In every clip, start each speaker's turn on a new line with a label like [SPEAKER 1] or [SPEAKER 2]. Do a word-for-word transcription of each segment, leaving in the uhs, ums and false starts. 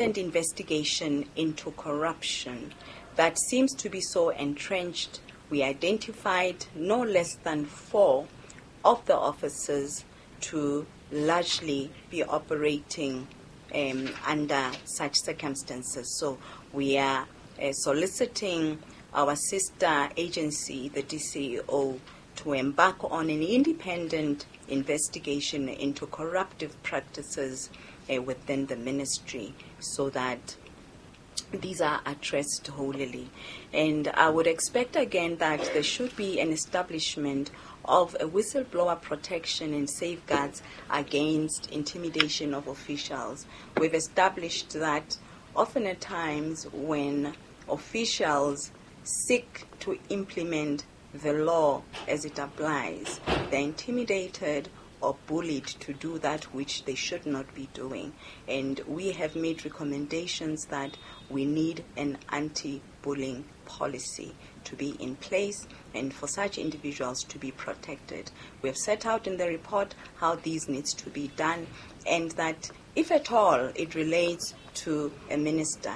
[SPEAKER 1] Investigation into corruption that seems to be so entrenched. We identified no less than four of the officers to largely be operating, um, under such circumstances. So we are, uh, soliciting our sister agency, the D C E O, to embark on an independent investigation into corruptive practices, uh, within the ministry so that these are addressed wholly. And I would expect again that there should be an establishment of a whistleblower protection and safeguards against intimidation of officials. We've established that often at times when officials seek to implement the law as it applies, they're intimidated or bullied to do that which they should not be doing. And we have made recommendations that we need an anti-bullying policy to be in place and for such individuals to be protected. We have set out in the report how these needs to be done, and that if at all it relates to a minister,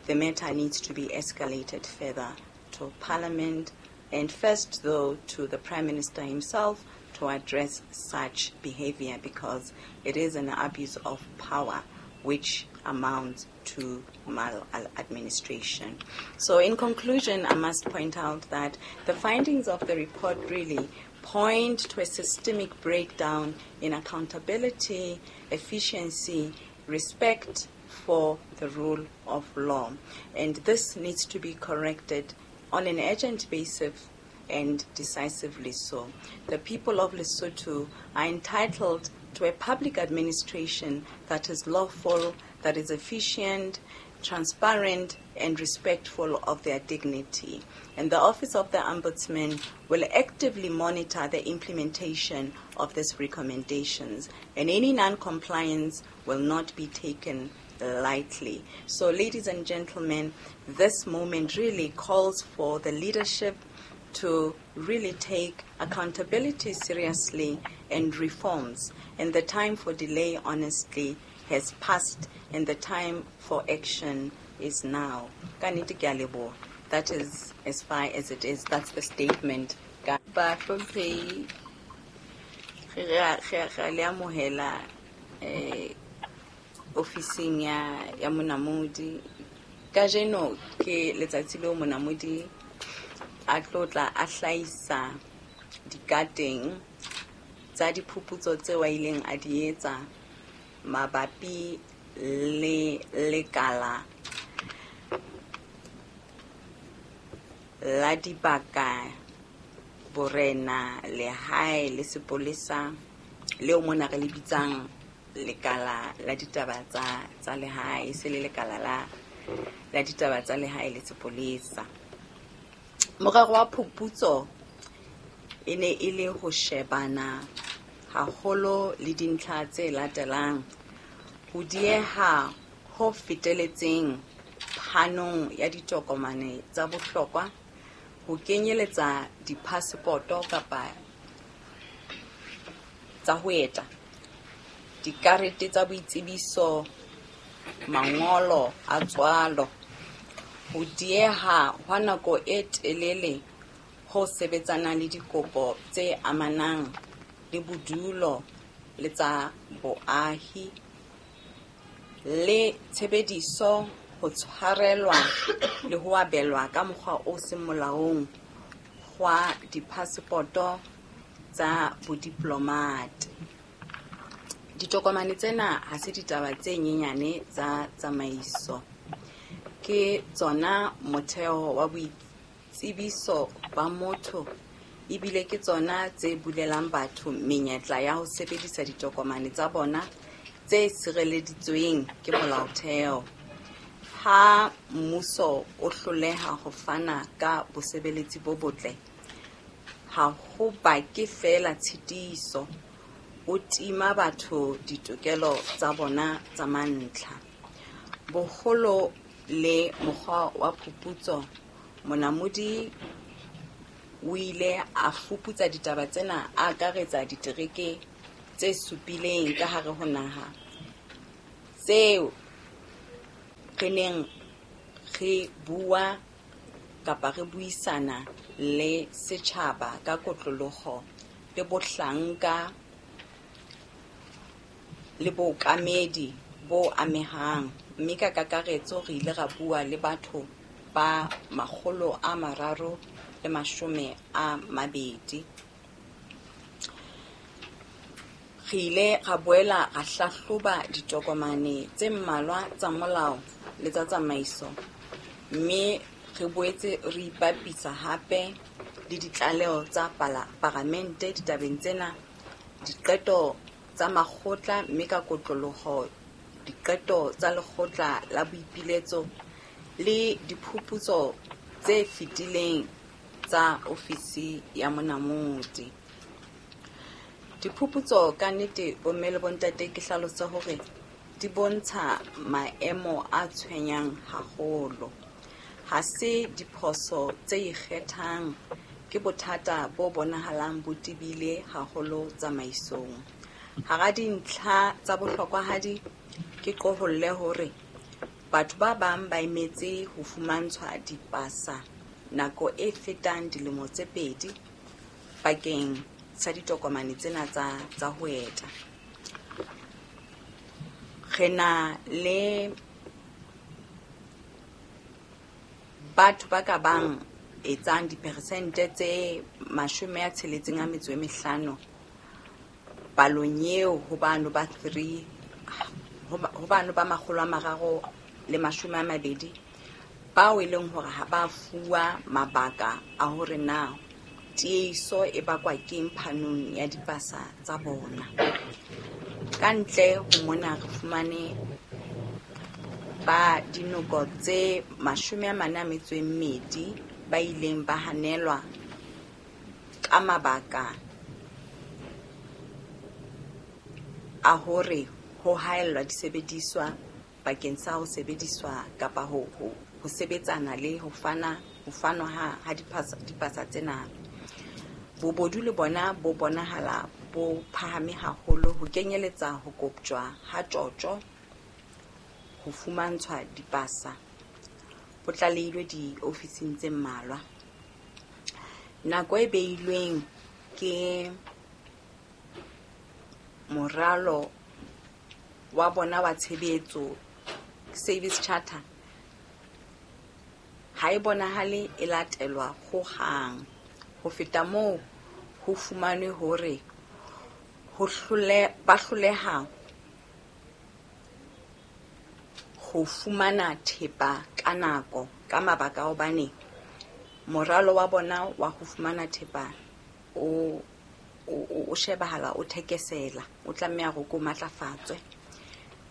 [SPEAKER 1] the matter needs to be escalated further to Parliament, and first though to the Prime Minister himself to address such behavior, because it is an abuse of power which amounts to maladministration. So in conclusion, I must point out that the findings of the report really point to a systemic breakdown in accountability, efficiency, respect for the rule of law. And this needs to be corrected on an urgent basis and decisively so. The people of Lesotho are entitled to a public administration that is lawful, that is efficient, transparent, and respectful of their dignity. And the Office of the Ombudsman will actively monitor the implementation of these recommendations, and any non-compliance will not be taken lightly. So, ladies and gentlemen, this moment really calls for the leadership to really take accountability seriously and reforms. And the time for delay, honestly, has passed, and the time for action is now. Ka nnete ke a leboha. That is as far as it is. That's the statement. Ka ba hlomphehi, re a, re a, re a le amohela, eh, ofising ya, ya Monamodi. Kajeno ke letsatsi leo Monamodi a tlo tla a hlahisa dikateng tsa diphuputso tseo a ileng a di etsa mabapi le lekala la dibaka, borena, lehae le sepolesa, leo mona re le bitsang lekala la ditaba tsa, tsa lehae, se le lekala la, la ditaba tsa lehae le sepolesa. Morero wa phuputso e ne e le ho shebana haholo le dintlha tse latelang: ho dieha ho feteletseng phanong ya ditokomane tsa bohlokwa, ho kenyeletsa diphasepoto kapa tsa ho eta, dikarete tsa boitsebiso, mangolo a tswalo, ho dieha hwa nako e telele ho sebetsanang le dikopo tse amanang le bodulo le tsa boahi, le tshebediso ho tshwarelwa le ho abelwa ka mokgwa o seng molaong hwa diphasepoto tsa bodiplomate. Ditokomane tsena ha se ditaba tse nyenyane tsa tsamaiso, ke tsona motheo wa boitsebiso ba motho, ebile ke tsona tse bulelang batho menyetla ya ho sebedisa ditokomane tsa bona tse sireleditsweng ke molaotheo. Ha mmuso o hloleha ho fana ka bosebeletsi bo botle, ha ho bake feela tshitiso, o tima batho ditokelo tsa bona tsa mantlha. Boholo le mokgwa wa phuputso, Monamodi o ile a fuputsa ditaba tsena a akaretsa ditereke tse supileng ka hare ho naha tseo re neng re bua kapa re buisana le setjhaba ka kotloloho le bohlanka le bookamedi bo amehang, mme ka kakaretso re ile ra bua le batho ba makgolo a mararo le mashome a mabedi. Re ile ra boela ra hlahloba ditokomane tse mmalwa tsa molao le tsa tsamaiso, mme re boetse re ipapisa hape le ditlaleho tsa palamente ditabeng tsena, diqeto tsa makgotla, mme ka kotloloho diqeto tsa lekgotla la boipiletso le diphuputso tse fetileng tsa ofisi ya monamodi. Diphuputso ka nnete bomme le bontate ke hlalose hore di bontsha maemo a tshwenyang haholo. Ha se diphoso tse ikgethang, ke bothata bo bonahalang bo tebile haholo tsamaisong. Hara dintlha tsa bohlokwahadi ke qoholle hore batho ba bang ba emetse ho fumantshwa dipasa nako e fetang dilemo tse pedi bakeng sa ditokomane tsena tsa, tsa ho eta. Re na le batho ba ka bang etsang diperesente tse mashome a tsheletseng a metso e mehlano palong eo ho bano ba three, ho bano ba makgolo a mararo le mashome a mabedi bao e leng hore ha ba fuwa mabaka a hore na tiehiso e bakwa keng phanong ya dipasa tsa bona. Ka ntle ho mona re fumane ba dinoko tse mashome a mane a metso e mmedi ba ileng ba hanelwa ka mabaka a hore ho haellwa disebediswa bakeng sa ho sebediswa kapa ho, ho, ho sebetsana le ho fana, ho fanwa ha, ha dipasa, dipasa tsena. Bobodu le bona bo bonahala bo phahame haholo ho kenyeletsa ho koptjwa ha tjotjo, ho fumantshwa dipasa, bo tlalehilwe diofising tse mmalwa. Nako e beilweng ke moralo wa bona wa tshebetso, service charter, ha e bonahale e latelwa hohang. Ho feta moo, ho fumanwe hore ho hlole, ba hloleha ho fumana thepa ka nako ka mabaka a hobane moralo wa bona wa ho fumana thepa o, o, o shebahala o thekesela, o tlameha hore ko matlafatswe.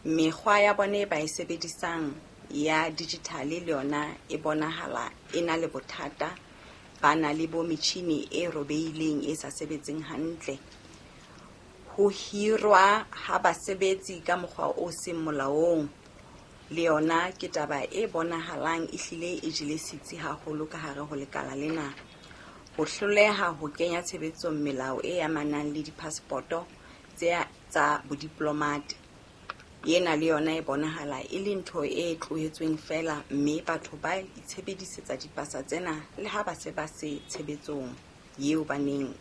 [SPEAKER 1] Mekgwa ya bona e ba e sebedisang ya digital le yona e bonahala e na le bothata. Ba na le bo metjhini e robehileng e sa sebetseng hantle. Ho hirwa ha basebetsi ka mokgwa o seng molaong le yona ke taba e bonahalang e hlile e jele setsi haholo ka hare ho lekala lena. Ho hloleha ho kenya tshebetsong melao e amanang le dipaspoto tse tsa bodiplomate, ena le yona e bonahala e le ntho e tlohetsweng feela, mme batho ba itshebedisetsa dipasa tsena le ha ba se ba se tshebetsong eo ba neng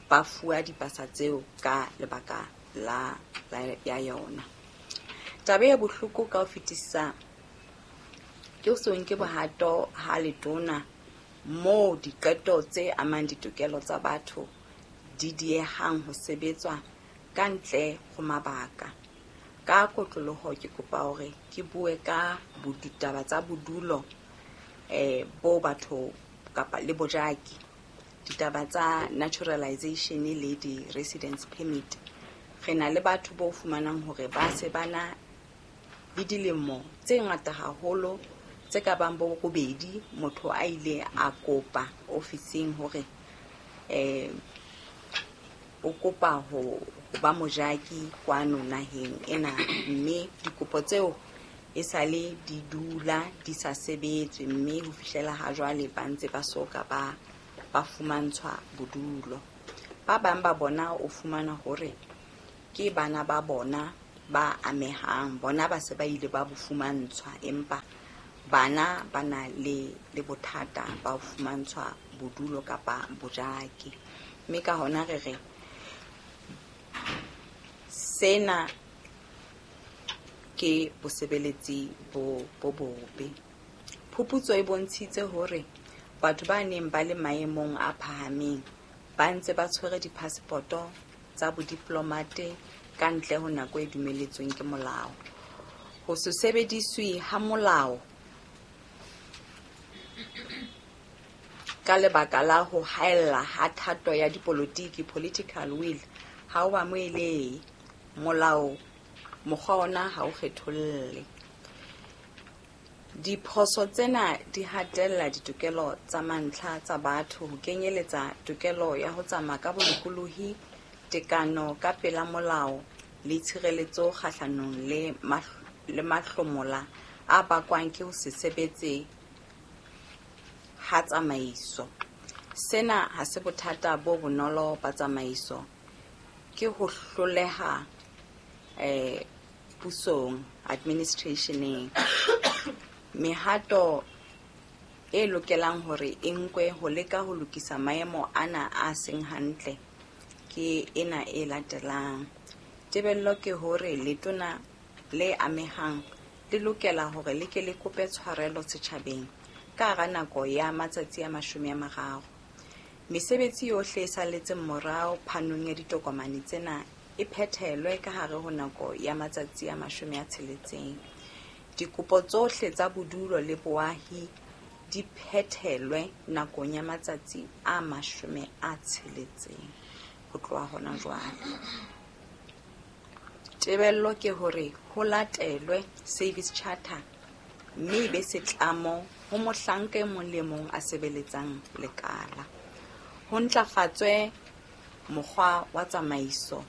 [SPEAKER 1] ba fuwa dipasa tseo ka lebaka la, la ya yona. Taba e bohloko ka ho fetisisa ke ho se nke bohato ha letona moo diqeto tse amang ditokelo tsa batho di diehang ho sebetswa ka ntle ho mabaka. Ka kotloloho ke kopa hore ke bue ka ditaba tsa bodulo eh bo batho kapa le bojaki, ditaba tsa naturalization le di-residence permit. Re na le batho bo fumanang hore ba se ba na le dilemo tse ngata haholo tse ka bang bo robedi motho a ile a kopa ofising hore eh o kopa ho ba mojaki kwano naheng ena, mme dikopo tseo e sale di dula di sa sebetswe, mme ho fihlela ha jwale ba ntse ba soka ba, ba fumantshwa bodulo. Ba bang ba bona o fumana hore ke bana ba bona ba amehang bona ba se ba ile ba bo fumantshwa, empa bana ba na le le bothata ba ho fumantshwa bodulo kapa bojaki. Mme ka hona re re sena ke bosebeletsi bo bo bobe. Phuputso e bontshitse hore batho ba neng ba le maemong a phahameng ba ntse ba tshwere diphasepoto tsa bodiplomate ka ntle ho nako e dumeletsweng ke molao. Ho se sebediswe ha molao ka lebaka la ho haella ha thato ya dipolotiki, political will, ha o amohelehe. Molao mokgwa ona ha o kgetholle. Diphoso tsena di hatella ditokelo tsa mantlha tsa batho, ho kenyeletsa tokelo ya ho tsamaya ka bolokolohi, tekano ka pela molao le tshireletso kgahlanong le le mahlomola a bakwang ke ho se sebetse ha tsamaiso. Sena ha se bothata bo bonolo ba tsamaiso, ke ho hloleha eh pusong, administrationeng. Mehato e lokelang hore e nkwe ho leka ho lokisa maemo ana a seng hantle ke ena e latelang. Tebello ke hore letona le amehang le lokela hore le ke le kope tshwarelo setjhabeng ka hara nako ya matsatsi a mashome a mararo. Mesebetsi yohle e salletseng morao phanong ya ditokomane tsena e phethelwe ka hare ho nako ya matsatsi a mashome a tsheletseng. Dikopo tsohle tsa bodulo le boahi di phethelwe nakong ya matsatsi a mashome a tsheletseng ho tloha hona jwale. Tebello ke hore ho latelwe service charter mme e be setlamo ho mohlanka e mong le mong a sebeletsang lekala. Ho ntlafatswe mokgwa wa tsamaiso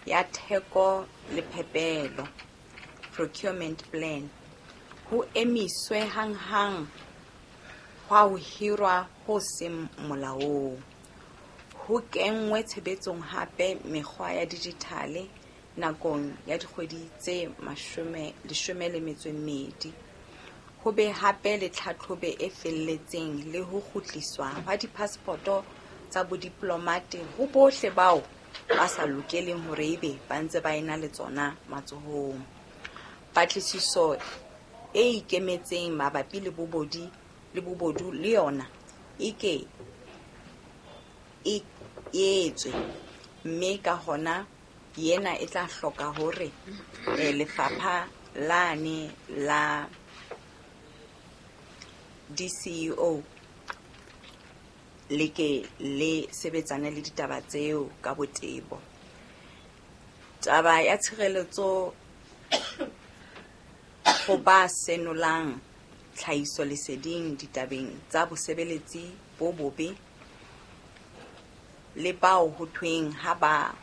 [SPEAKER 1] ya theko le phepelo, procurement plan. Ho emiswe hanghang hwa ho hirwa ho seng molaong. Ho kenngwe tshebetsong hape mekgwa ya dijithale nakong ya dikgwedi tse mashome leshome le metso e mmedi. Ho be hape le tlhatlhobo e felletseng le ho kgutliswa hwa diphasepoto tsa bodiplomate ho bohle bao ba sa lokeleng hore ebe ba ntse ba ena le tsona matsohong. Patlisiso e ikemetseng mabapi le bobodi le bobodu le yona e ke e etswe, mme ka hona yena e tla hloka hore lefapha lane la D C E O le ke le sebetsane le ditaba tseo ka botebo. Taba ya tshireletso ho ba senolang tlhahiso leseding ditabeng tsa bosebeletsi bo bobe le bao ho thweng ha ba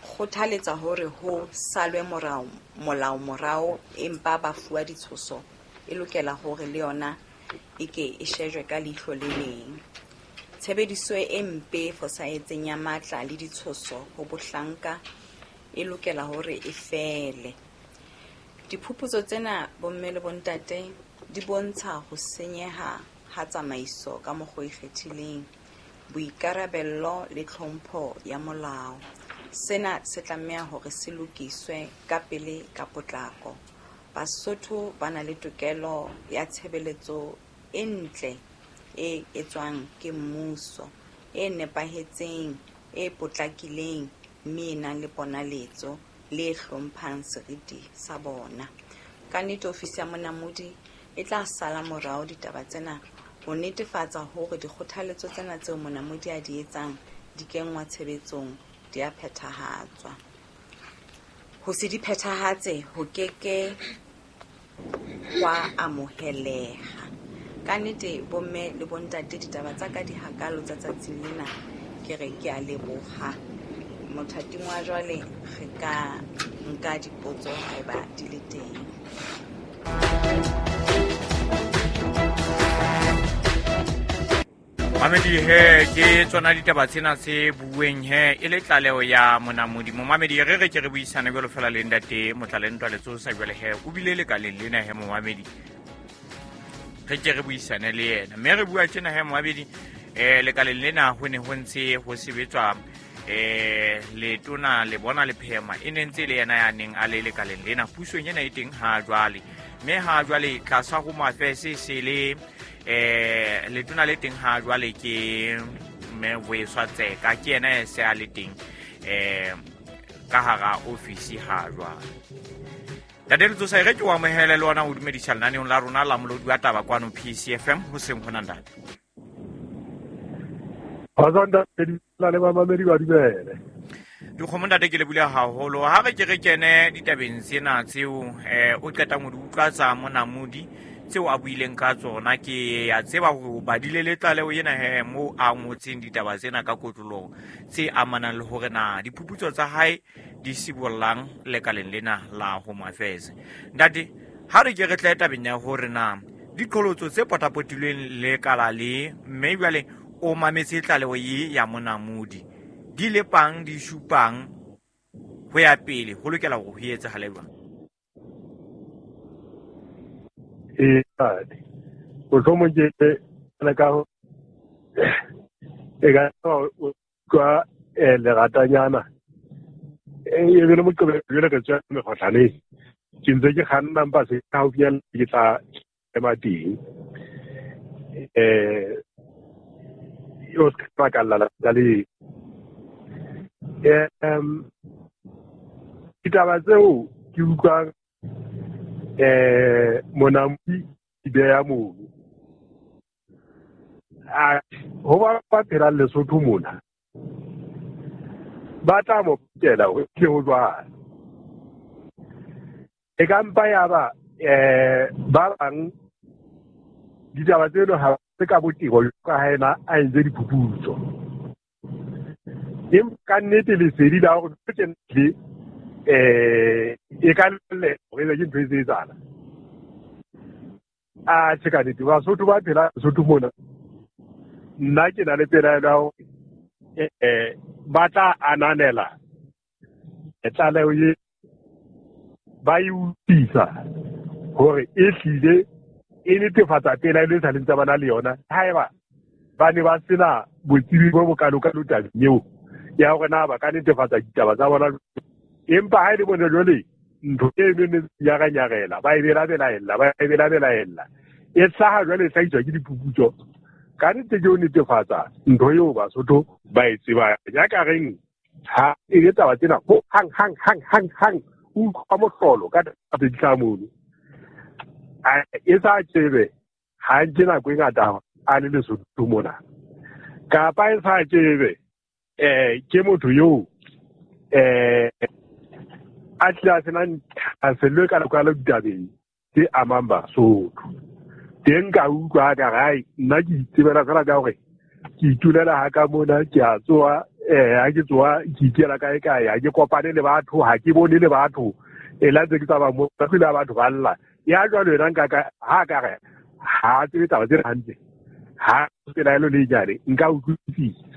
[SPEAKER 1] kgothaletsa hore ho salwe morao molao morao empa ba fuwa ditshoso e lokela hore le yona e ke e shejwe ka leihlo le leng. Tshebediso e mpe e fosahetseng ya matla le ditshoso ho bohlanka e lokela hore e fele. Diphuputso tsena bomme le bontate di bontsha ho senyeha ha tsamaiso ka mokgwa o ikgethileng, boikarabello le tlhompho ya molao. Sena se tlameha hore se lokiswe ka pele ka potlako. Basotho ba na le tokelo ya tshebeletso e ntle e etswang ke mmuso, e nepahetseng, e potlakileng, mme e nang le ponaletso le hlomphang seriti sa bona. Ka nnete ofisi ya Monamodi e tla sala morao ditaba tsena ho netefatsa hore dikgothaletso tsena tseo Monamodi a di etsang di kenngwa tshebetsong, di a phethahatswa. Ho se di phethahatse ho keke hwa amoheleha. Ka nnete bomme le bontate ditaba tsa ka di hakalo tsa tsatsing lena, ke re ke a leboha. Mothating wa jwale re ka nka dipotso haeba di le teng.
[SPEAKER 2] Mamedi he ke tsona ditaba tsena tse bueng he e le tlaleho ya Monamodi. Momamedi re re ke re buisane jwalo fela le ntate Motlalentwa Letsosa jwale he o bile lekaleng lena he momamedi. Re ke re buisane le yena. Mme re bua tjena he momamedi eh lekaleng lena ho ne ho ntse ho sebetswa eh letona le bona le phema e ne ntse le yena ya neng a le lekaleng lena pusong ena e teng ha jwale. Mme ha jwale tlasa ho mafese se le eh letona le teng ha jwale ke mme Vuyiswa Tseka ke yena e se a le teng eh ka hara ofisi ha jwale. Ntate Letsosa re ke o amohele le wona o dumedisa lenaneong la rona la Molodi wa Taba kwano P C F M ho seng hona ntate.
[SPEAKER 3] Azanda le bamamedi ba dumele.
[SPEAKER 2] Dikgomo ntate ke le bula haholo ha re ke re kene ditabeng tsena tseo eh o qetang ho di utlwa tsa Monamodi tseo a buileng ka tsona ke ya tseba hore o badile le tlaleho ena he mo a ngotseng ditaba tsena ka kotloloho tse amanang le hore na diphuputso tsa hae di sibollang lekaleng lena la Home Affairs. Ntate ha re ke re tle tabeng ya hore na diqholotso tse potapotilweng lekala le mme jwale o mametse tlaleho ye ya Monamodi di lepang di supang ho ya pele ho lokela hore ho etsahale jwang?
[SPEAKER 3] E mohlomong ke le ka e ka utlwa leratanyana e be le Moqebelo jwale re tswa mekgohlaneng ke ntse ke kganna mpa se haufinyana ke tla ema teng eh o se ka kalla la le em ditaba tseo ke utlwang eh Monamodi di beya mono a ho ba ba phelang Lesotho mona ba tla mo pakela hore ke ho jwang e ka mpa ya ba eh ba bang ditaba tseno ha se ka botebo ka ha ena a entse diphuputso empa ka nnete lesedi la hore ke le eh e ka le hore ke ntho e etsahala a tjhe ka nnete Basotho ba phela Lesotho mona nna ke na le pelaelo ya hore eh ba tla ananela tlaleho e ba e utlwisa hore e hlile e netefatsa pelaelo e sa leng tsa bana le yona haeba ba ne ba sena botsebi bo bokalokalo tabeng eo ya hore na ba ka netefatsa ditaba tsa bona empa ha e le bone jwale ntho eno ne nyaranyarela ba e belabelaella ba e belabelaella e hlaha jwale e hlahiswa ke diphuputso ka nnete ke ho netefatsa ntho eo Basotho ba e tsebang ya ka reng ha e le taba tsena ho hang hang hang hang hang o utlwa mohlolo ka taba tse di hlaha mono e sa tsebe ha nke nako e ngata a le Lesotho mona kapa e sa tsebe eh ke motho eo eh a tlile a senang thahasello e kalokalo ditabeng tse amang Basotho teng ka utlwa ka re ai nna ke itsebela fela ka hore ke itulela ha ka mona ke a tsoha eh ha ke tsoha ke ikela kae kae ha ke kopane le batho ha ke bone le batho e la ntse ke tsamaya mo ka tlile batho ba lla ya jwalo yena nka ka ha ka re ha tsebe taba tse hantle ha pelaelo le nyane nka utlwisisa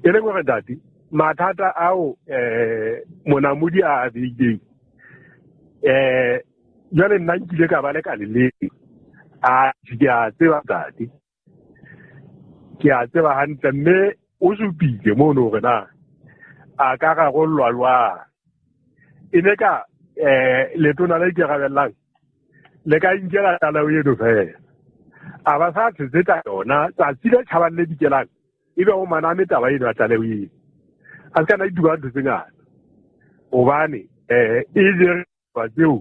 [SPEAKER 3] e leng hore ntate mathata ao eh Monamodi a beileng eh jwale nna nkile ka ba le ka le leng a ke a tseba ntate ke a tseba hantle mme o supile mono hore na a ka rarollwa jwang e ne ka eh letona le ikarabellang le ka inkela tlaleho eno fela a ba sa tshetsa yona tsatsi le tjhabang le dikelang ebe o maname taba eno ya tlaleho eno a se ka na ituba ntho tse ngata hobane eh e jere taba tseo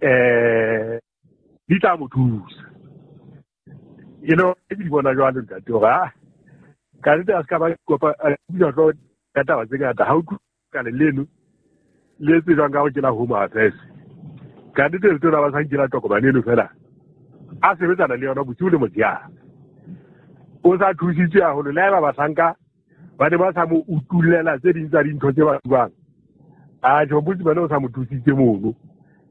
[SPEAKER 3] eh di tla mo thusa e le ke di bona jwalo ntate hore ah ka nnete a se ka ba kopa a tlo ka taba tse ngata ha o ka le leno le tsejwang ka hore ke la Home Affairs ka nnete letona ba sa nkela tokomane eno fela a sebetsana le yona bosiu le motshehare o sa thusitswe haholo le haeba bahlanka ba ne ba sa mo utullela tse ding tsa dintho tse ba buang a tjho botsi bana o sa mo thusitse mono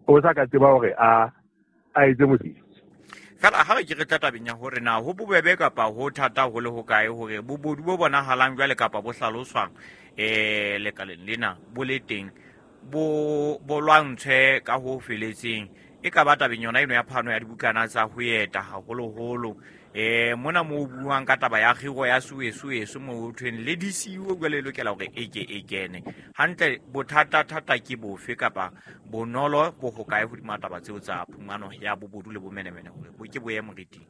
[SPEAKER 3] o sa ka tseba hore a a etse mosebetsi.
[SPEAKER 2] Fela ha re ke re tla tabeng ya hore na ho bobebe kapa ho thata ho le hokae hore bobodu bo bonahalang jwale kapa bo hlaloswang eh lekaleng lena bo le teng bo bo lwantshwe ka ho feletseng, e ka ba tabeng yona eno ya phano ya dibukana tsa ho eta haholoholo eh mona mo buang ka taba ya kgiro ya suesuesu mo ho thweng le D C O jwale e lokela hore e ke e kene hantle. Bothata thata ke bofe kapa bonolo bo hokae hodima taba tseo tsa phumano ya bobodu le bomenemene hore bo ke bo ye moriting?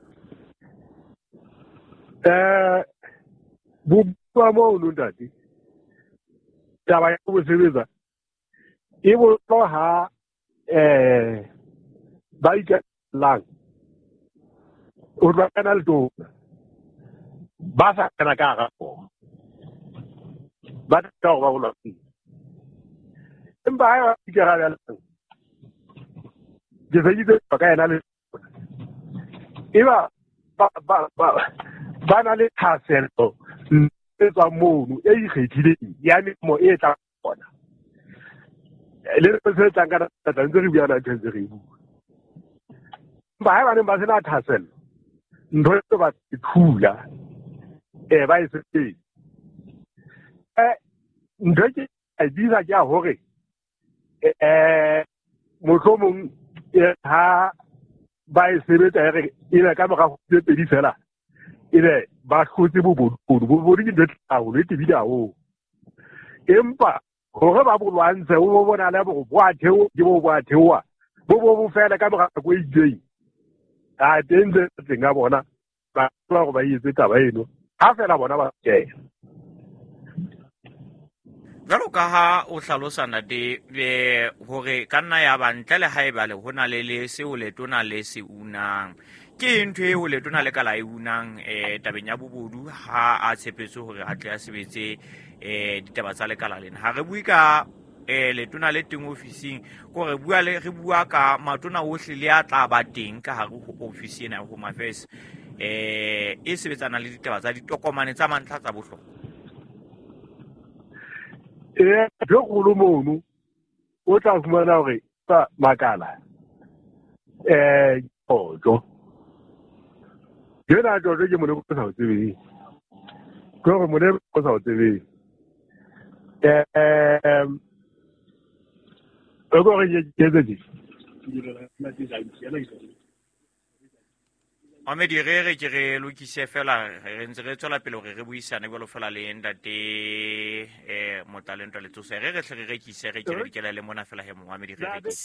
[SPEAKER 3] Eh bo bua mono ntate, taba ya ho sebetsa e bonolo ha eh ba ikelang o tla kana le tona ba sa kana ka hara bona ba tla hore ba bolwetse, empa ha ba ikarabellang ke feditse ka yena le eba ba ba ba ba na le thahasello e tswang mono e ikgethileng ya melemo e tla bona le se tlang ka tla ntse re bua na ntse re bua. Empa ha ba neng ba sena thahasello ntho e ba thula eh ba e sebetse eh ntho ke a bitsa ke a hore eh mohlomong ha ba e sebetsa re e ka mora tse pedi fela ebe ba hlotse bobodu. Bobodu ke ntho e haholo e tebile haholo, empa hore ba bo lwantshe o bona le bo bo a theo ke bo bo a theoha bo bo bo fela ka mora nako e itseng a teng tse teng a bona ba tla hore ba etse taba eno ha fela bona ba kena.
[SPEAKER 2] Jwalo ka ha o hlalosa ntate hore ka nna ya ba ntle le haeba le hona le le seo letona le se unang, ke ntho eo letona le ka la e unang eh tabeng ya bobodu ha a tshepetse hore a tle a sebetse eh ditaba tsa lekala lena. Ha re bue ka eh letona le teng ofising, ko re bua le re bua ka matona ohle le a tla ba teng ka hare ho ofisi ena ya Home Affairs eh e sebetsana le ditaba tsa ditokomane tsa mantlha tsa bohlokwa.
[SPEAKER 3] Eh jo kgolo mono o tla fumana hore tsa makala eh ojo jena jojo ke mone o sa o tsebeng ke hore mone o sa o tsebeng eh o go re ke tse
[SPEAKER 2] Mamedi re re ke re lokise fela re ntse re tswela pele hore re buisane jwalo fela le ntate eh Motlalentwa Letsosa. Re re hle re rekise re ke re dikela le mona fela he Mamedi re rekise.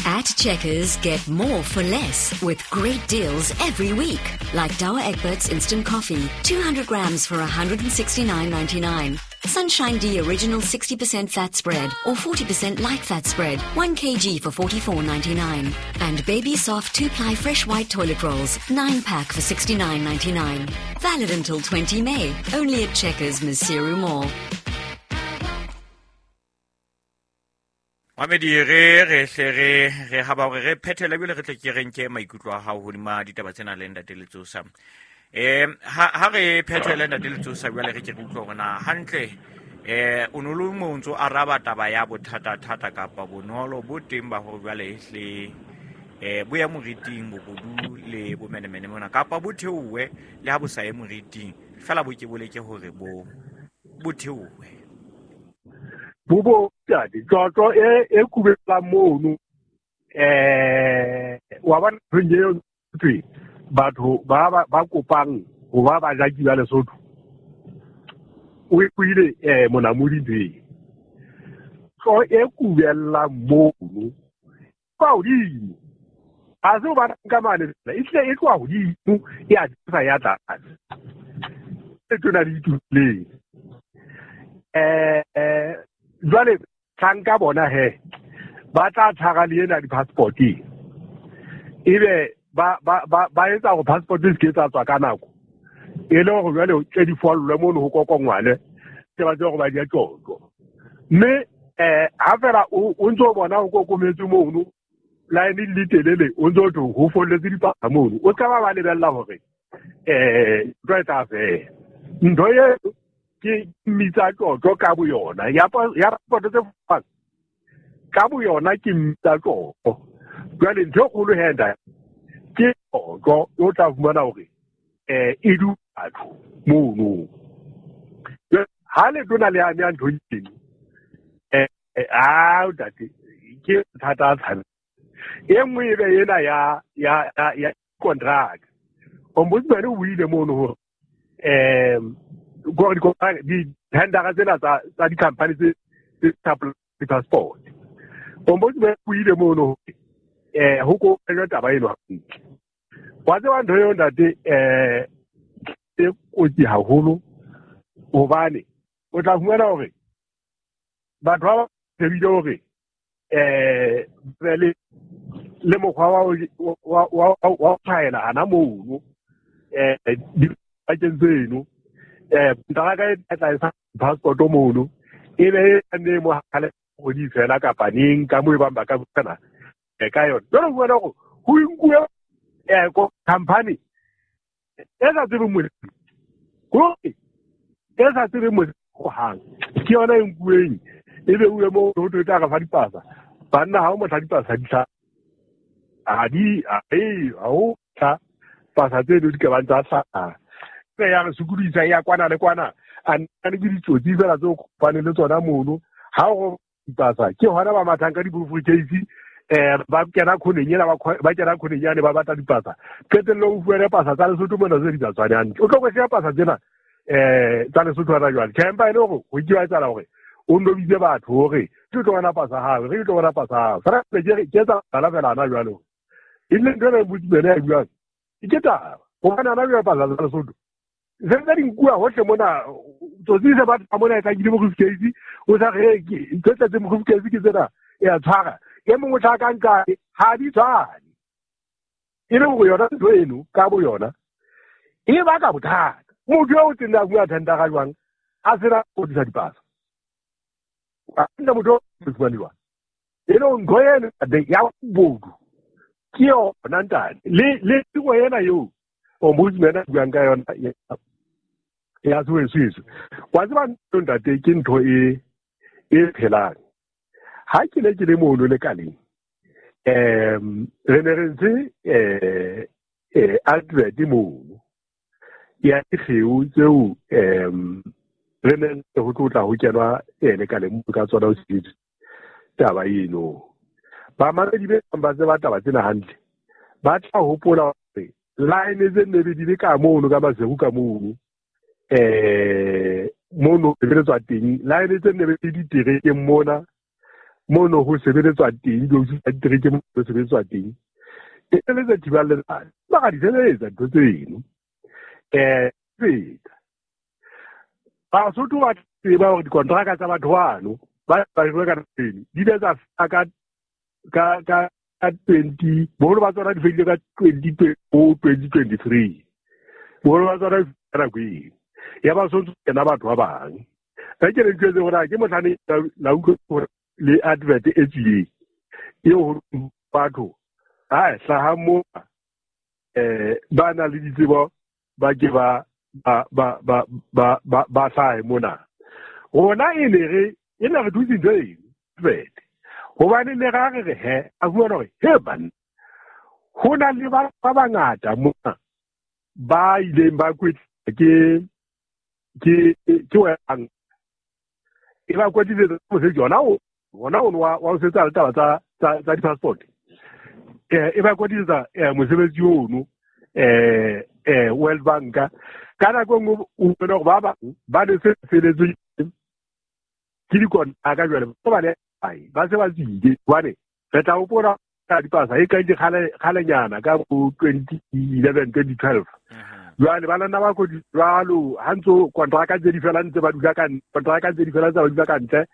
[SPEAKER 4] At Checkers, get more for less with great deals every week. Like Douwe Egberts Instant Coffee, two hundred grams for one hundred sixty-nine ninety-nine. Sunshine D Original sixty percent fat spread or forty percent light fat spread, one kilogram for forty-four ninety-nine. And Baby Soft two-ply fresh white toilet rolls, nine pack for sixty-nine ninety-nine. Valid until twentieth May, only at Checkers, Maseru Mall.
[SPEAKER 2] Mamedi re re hle re re ha ba hore re phethele ebile re tle ke re nke maikutlo a hao hodima ditaba tsena le ntate Letsosa. Eh ha ha re phethele ntate Letsosa jwale re ke re utlwe hore na hantle eh o no le mo ntso araba taba ya bothata thata kapa bonolo bo teng ba hore jwale hle eh bo ya moriting bobodu le bomenemene mona kapa bo theowe le ha bo sa ye moriting fela bo ke boleke hore bo bo theowe.
[SPEAKER 3] Bobo tadi tjotjo e e kubela mono eh wa bona ntho eo batho ba ba kopang ho ba ba jaki ba Lesotho o e kuile eh monamodi ntho e tlo e kubela mono kwa hodimo ha se o ba ka mane e tle e tloha hodimo ya tsa ya tlase e tona di ituleng eh jwale tlanka bona he ba tla tshara le ena di-passport ebe ba ba ba ba etsa hore passport e se ke tsa tswa ka nako e le hore jwale tse di follwe mono ho kokongwane ke ba tsebe hore ba di a tjotjo mme eh ha fela o ntso bona ho kokometse mono line le telele o ntso tho ho folletse dipasa mono o ska ba ba lebella hore eh ntho e tla fela ntho e ke mmitsa tjotjo ka boyona ya ya passport tse fang ka boyona ke mmitsa tjotjo Jwale ntho e kgolo he ntate ke otlo o tla fumana hore eh e du batho mono. Ha le tona le ame ntho eno eh a ntate ke thata tsana. E nngwe e be ena ya ya ya contract. Ombudsman o buile mono hore eh go di contract di tendera tsena tsa tsa di-company tse tse passport. Ombudsman o buile mono eh ho ko taba eno hantle. Wa tseba ntho eo ntate eh e kotsi haholo hobane o tla fumana hore batho ba shebile hore eh le le mokgwa wa wa wa tshwaela hana mono eh dipakeng tseno eh kontraka e tla e sa passport mono e be e ne mo hale go di fela kapa neng ka mo e bang ba ka butsana ka yona. Jwale o fumana hore ho nkuwe eh ko company e sa tsebe mosebetsi ko e sa tsebe mosebetsi hohang ke yona e nkuweng e be uwe mo ho tla re fa dipasa banna ha o motla dipasa di tla a di a e ha o tla pasa tse di ka bang tsa hlaha e ya re sokodisa ya kwana le kwana a nna ke ditsotsi fela tse o kopane le tsona mono ha o dipasa ke hona ba mathang ka di-briefcase eh ba kena khoneng ena ba kena khoneng yane ba batla dipasa qetellong o fuwe pasa tsa Lesotho mona tse di sa tshwane hantle o tlo kwehla pasa tsena eh tsa Lesotho hona jwale tjhe empa e le hore ho ke wa etsahala hore o ndobitse batho hore ke tlo bona pasa hao re tlo bona pasa hao fela ke ke etsa bala fela hona jwale e le ntho e botsibele ya buang ke taba hobane hona jwale pasa tsa Lesotho se ntse di nkuwa hohle mona tsotsi se batla mona e tla ke di-briefcase o sa re ke tse tletseng briefcase ke tsena e a tshwara e mongwe tla ka nka ha di tshwane e le hore yona ntho eno ka bo yona e baka bothata. Motho eo o teng a bua thendera jwang a sena go disa dipasa a nna motho o fumane jwang e le ntho eno ya bodu ke yona ntate le le tiro ena eo ombudsman a buang ka yona ya tswetswe wa tseba ntate ke ntho e e phelang. Ha ke ne ke le mono lekaleng em re ne re ntse eh eh advert mono ya dikgeo tseo em re ne ho tlotla ho kenwa lekaleng ka tsona ho sebetsa taba eno. Bamamedi be ba tseba taba tsena hantle ba tla hopola hore line tse ne di le ka mono ka Maseru ka mono eh mono sebeletswa teng line tse ne di diterekeng mona mono ho sebeletswa teng di diterekeng ho sebeletswa teng e le tse thibang letsatsi ba ka di sebeletsa ntho tseno eh feta Basotho ba tseba hore dikontraka tsa batho bano ba ba rwe ka teng di ile tsa ka ka ka twenty boholo ba tsona di fedile ka twenty twenty twenty three boholo ba tsona ka nako eo ya ba sontse kena batho ba bang e ke re ntse hore ke motlhane la utlwa hore le advert e tswileng eo batho ha hlaha mo eh ba na le ditsebo ba ke ba ba ba ba ba ba ba hlahe mona rona e ne re e ne re dutse ntho eno advert hobane ne ra re re he a bua hore he banna ho na le ba ba bangata mona ba ileng ba kwetla ke ke ke wang e ba kwetlisetsa mosebetsi ona o ona o wa wa sebetsa le taba tsa tsa di-passport eh e ba kwetlisetsa mosebetsi ono eh eh World Bank ka nako e nngwe o bona hore ba bang ba ne se feletswe ke dikontraka jwale ba le ba se ba tswile hobane re tla hopola ka dipasa e ka di kgale kgalenyana ka bo twenty eleven twenty twelve jwale ba lana ba kodi jwalo ha ntso kontraka tse di fela ntse ba dula ka kontraka tse di fela ntse ba dula ka ntle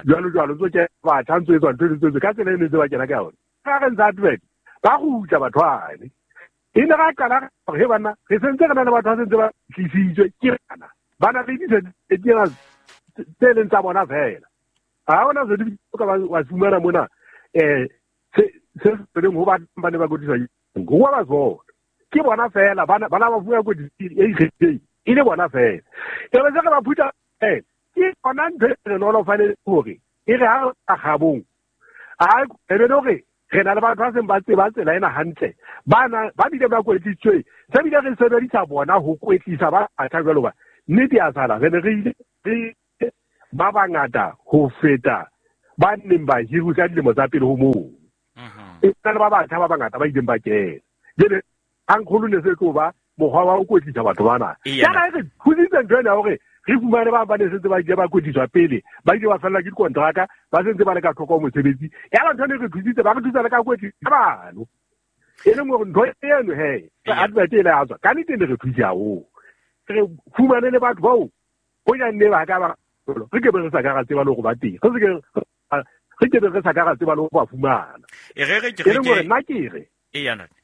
[SPEAKER 3] jwalo jwalo ntso ke batho ntso etswa ntho tse ka tsela e ne ntse ba kena ka yona ka re ntse advert ba gutla batho bane e ne ra qala hore he bana re sentse re na le batho ba sentse ba tlisitswe ke bana ba na le ditse tse leng tsa bona fela ha hona se di ka wa fumana mona eh se se leng ho ba ba ne ba kodisa go wa ba tsona ke bona fela bana bana ba bua kodisa e ikgethileng e le bona fela e ba se re ba phutha eh ke yona ntho e re nolofaletse hore e re ha re gabong a e be hore Re na le batho ba seng ba tseba tsela ena hantle, ba na ba bile ba kwetlisitswe, se bile re sebedisa bona ho kwetlisa ba batjha jwalo ba nnete ya sala re ne re ile re ba bangata ho feta ba neng ba hirwe ka dilemo tsa pele ho moo. E na le ba batjha ba bangata ba ileng ba kena. Jwale hankgolo ne se tlo ba mokgwa wa ho kwetlisa batho bana. Yana re thusitse ntho ena ya hore re fumane ba ba ne sentse ba ile ba kwetliswa pele, ba ile ba fellwa ke dikontraka, ba sentse ba le ka thoko ho mosebetsi. Ya ba ntho ene re thusitse, ba re thusa le ka kwetlisa bano. E leng hore ntho eno he, advert e le ya tswa, ka nnete ne re thuse haholo. Re fumane le batho bao ho ja nne ba ka ba re ke be re sa ka ra tseba le hore ba teng. Re se ke re ke be re sa ka ra tseba le ho ba fumana.
[SPEAKER 2] E re re ke
[SPEAKER 3] E leng hore nna ke re
[SPEAKER 2] e ya ntate.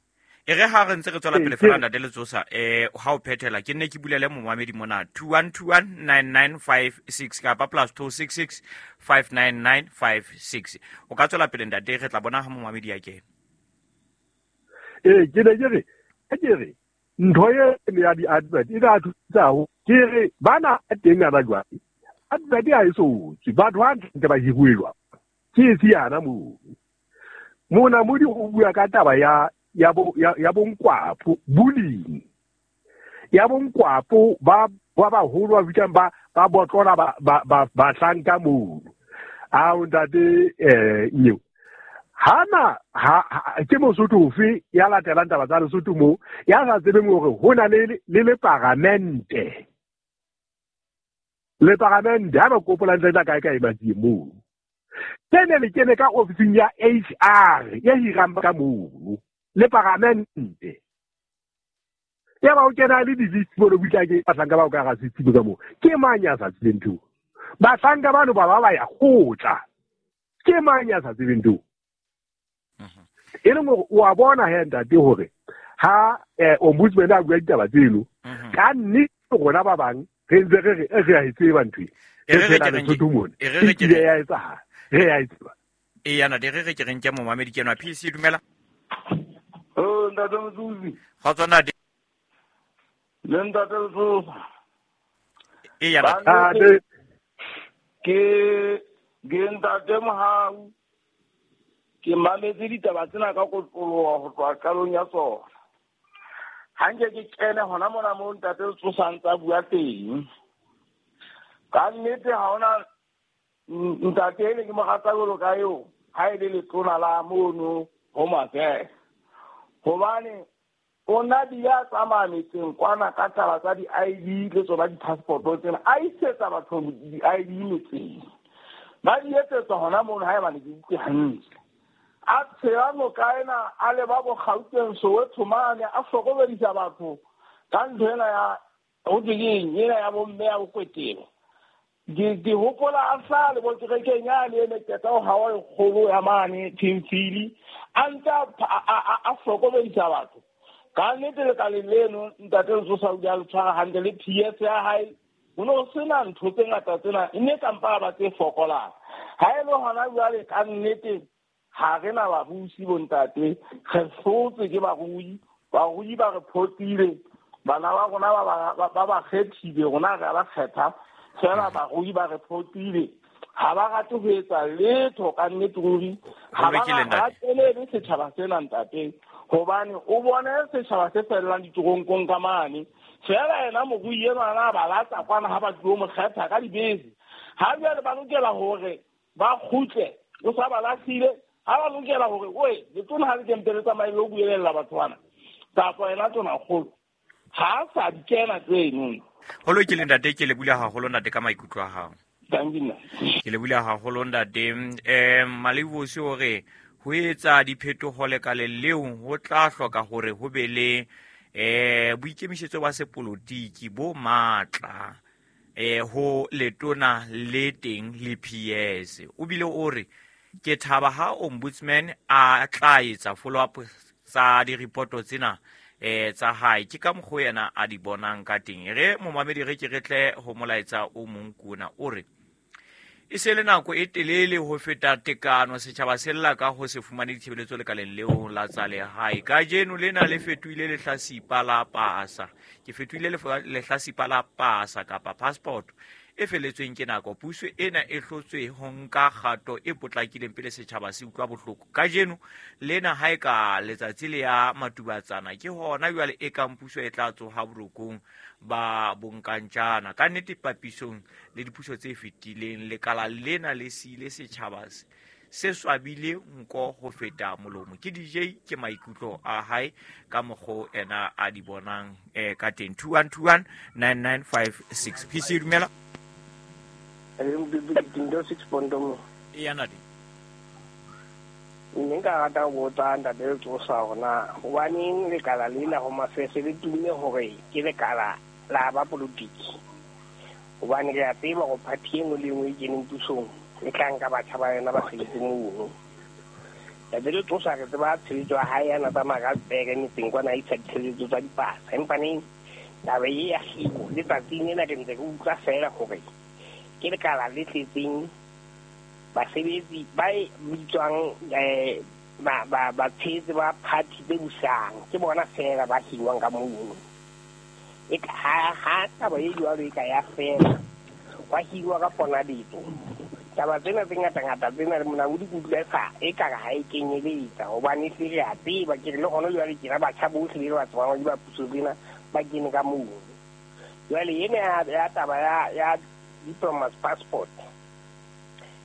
[SPEAKER 2] E re ha re ntse re tswela pele fela ntate Letsosa, eh ha o phethela ke nne ke bulele momamedi mona two one two one nine nine five six kapa plus two six six five nine nine five six. O ka tswela pele ntate, re tla bona ha momamedi ya kena.
[SPEAKER 3] Eh ke ne ke re ke re ntho e ya di-advert e tla thusa haholo. Ke re bana teng ana jwale advert ha e so tswe, batho ba ntse ba hiruwe jwang ke e siyana moo. Monamodi o bua ka taba ya ya bo ya, ya bonkwapo bullying ya bonkwapo ba ba baholo ba fihlang ba ba botlola ba ba ba bahlanka moo. Ao ntate eh nyeo hana ha, ha ke Mosotho ofe ya latelang taba tsa Lesotho moo ya sa tsebeng hore ho na le le le paramente le paramente ha ba kopola ntle tla kae kae batsi moo. Tsene le kene ka ofising ya H R ya hirang ka moo le paramente ya ba o kena le di-list mo le butla ke bahlanka ba o ka ga setshimo ka moo. Ke mang ya sa tsebeng ntho? Bahlanka bano ba ba ba ya kgotla. Ke mang ya sa tsebeng ntho? E leng hore o a bona he ntate hore ha eh, ombudsman a bua ditaba tseno, ka nnete rona ba bang re ntse re re re a e tseba ntho e.
[SPEAKER 2] E re re
[SPEAKER 3] Re
[SPEAKER 2] ke
[SPEAKER 3] phela
[SPEAKER 2] reng
[SPEAKER 3] Lesotho mona.
[SPEAKER 2] e re
[SPEAKER 3] E
[SPEAKER 2] re ke
[SPEAKER 3] kile
[SPEAKER 2] reng
[SPEAKER 3] ya etsahala, re a e tseba.
[SPEAKER 2] e ya ntate, re re ke reng ke momamedi ke enwa. P C dumela.
[SPEAKER 5] Oh, ntate Motsosi.
[SPEAKER 2] Kgotso ntate.
[SPEAKER 5] Le ntate Letsosa.
[SPEAKER 2] E ya ntate.
[SPEAKER 5] Ba
[SPEAKER 3] Ntate.
[SPEAKER 5] Ke ke ntate Mohau. Ke mametse ditaba tsena ka kotloloha ho tloha qalong ya tsona. Ha nke ke kene hona mona moo ntate Letsosa a ntsa bua teng. Ka nnete ha hona ntate ene ke mo rata jwalo ka eo, ha e le letona la mono Home Affairs. Hobane o na bile a tsamaya metseng kwana ka taba tsa di-I D le tsona di-passport tsena, a isetsa batho di-I D metseng. Ba di etsetsa hona mono haebane ke utlwe hantle. A tshela noka ena a leba bo Gauteng, Soweto mane, a hlokomedisa batho ka ntho ena ya ho thwe ke eng, ena ya bomme ya bokwetelo. Ke ke hopola a hlaha le bo kerekeng yane e ne qeta ho hawa e kgolo ya mane Timfili, a ntse a a a a hlokomedisa batho. Ka nnete lekaleng leno ntate Letsosa o ile a le tshwara hantle le P S ya hae. Ho no sena ntho tse ngata tsena, e ne ka mpa ba tse fokolang. Ha e le hona jwale ka nnete ha re na babusi bo ntate, re hlotswe ke barui, barui ba re photile, bana ba rona ba ba ba ba kgethile, rona re a ba kgetha fela, barui ba re photile. Ha ba rate ho etsa letho ka nnete ruri, ha
[SPEAKER 2] Ho
[SPEAKER 5] ba
[SPEAKER 2] lokile, ntate.
[SPEAKER 5] ratelele setjhaba sena ntate, hobane o bone setjhaba se fellang ditoronkong ka mane. Fela yena morui enwa a ba latsa kwana ha ba tlo mo kgetha ka dibese. Ha jwale ba lokela hore ba kgutle, o sa ba lahlile. Ha ba lokela hore oe letona ha le kempe le tsamaye le ho buelella batho bana, kapa yena tonakgolo ha a sa di kena tseno.
[SPEAKER 2] Ho lokile ntate, ke le bula haholo ntate ka maikutlo a hao.
[SPEAKER 5] Thank you, nna.
[SPEAKER 2] Ke le bula haholo ntate. Eh Malevosi o re ho etsa diphetoho lekaleng leo ho tla hloka hore ho be le eh boikemisetso ba sepolotiki bo matla eh ho letona le teng le P S. O bile o re ke thaba ha ombudsman a tla etsa follow up tsa di-report tsena eh tsa hae, ke ka mokgwa yena a di bonang ka teng. Re momamedi re ke re tle ho molaetsa o mong kuna o re e se le nako e telele ho feta tekano setjhaba se lla ka ho se fumane ditshebeletso lekaleng leo la tsa lehae. Kajeno lena le fetohile lehlasipa la pasa, ke fetohile lehlasipa la pasa kapa passport e feletsweng ke nako. Puso ena e hlotswe ho nka kgato e potlakileng pele setjhaba se utlwa bohloko. Kajeno lena ha e ka letsatsi le ya matubatsana, ke hona jwale e kang puso e tla tsoha borokong ba bonkantjana. Ka nnete papisong le dipuso tse fetileng, lekala lena le siile setjhaba se swabile nko ho feta molomo. Ke D J, ke maikutlo a hae ka mokgo ena a di bonang eh ka teng. Two one two one nine nine five six. P C dumela. E nadi.
[SPEAKER 6] Nne nka rata ho botsa ntate Letsosa hore na hobaneng lekala lena Home Affairs le tumme hore ke lekala la ba politiki, hobane re a tseba hore party e nngwe le e nngwe e keneng pusong e tla nka batjha ba yona ba sebetse mono. Ntate Letsosa re tseba tshebetso ya hae ya na tsamaya ka pere metseng kwana a isa ditshebetso tsa dipasa, empa neng taba e ya hiro letsatsing lena ke ntse ke utlwa feela hore ke lekala le tletseng basebetsi ba bitswang eh ba ba ba tshehetsi ba party tse busang, ke bona feela ba hirwang ka mono. E ka ha ha taba e jwalo e ka ya fela wa hirwa ka ponaditso. Taba tsena tse ngata-ngata tsena le monamodi ke utlwa sa e ka ha e kenyeletsa, hobane se re a tseba ke re le hona jwale ke ra batjha bohle le ba tsebang di ba puso tsena ba kene ka mono. Jwale ena ya taba ya ya diplomat's passport,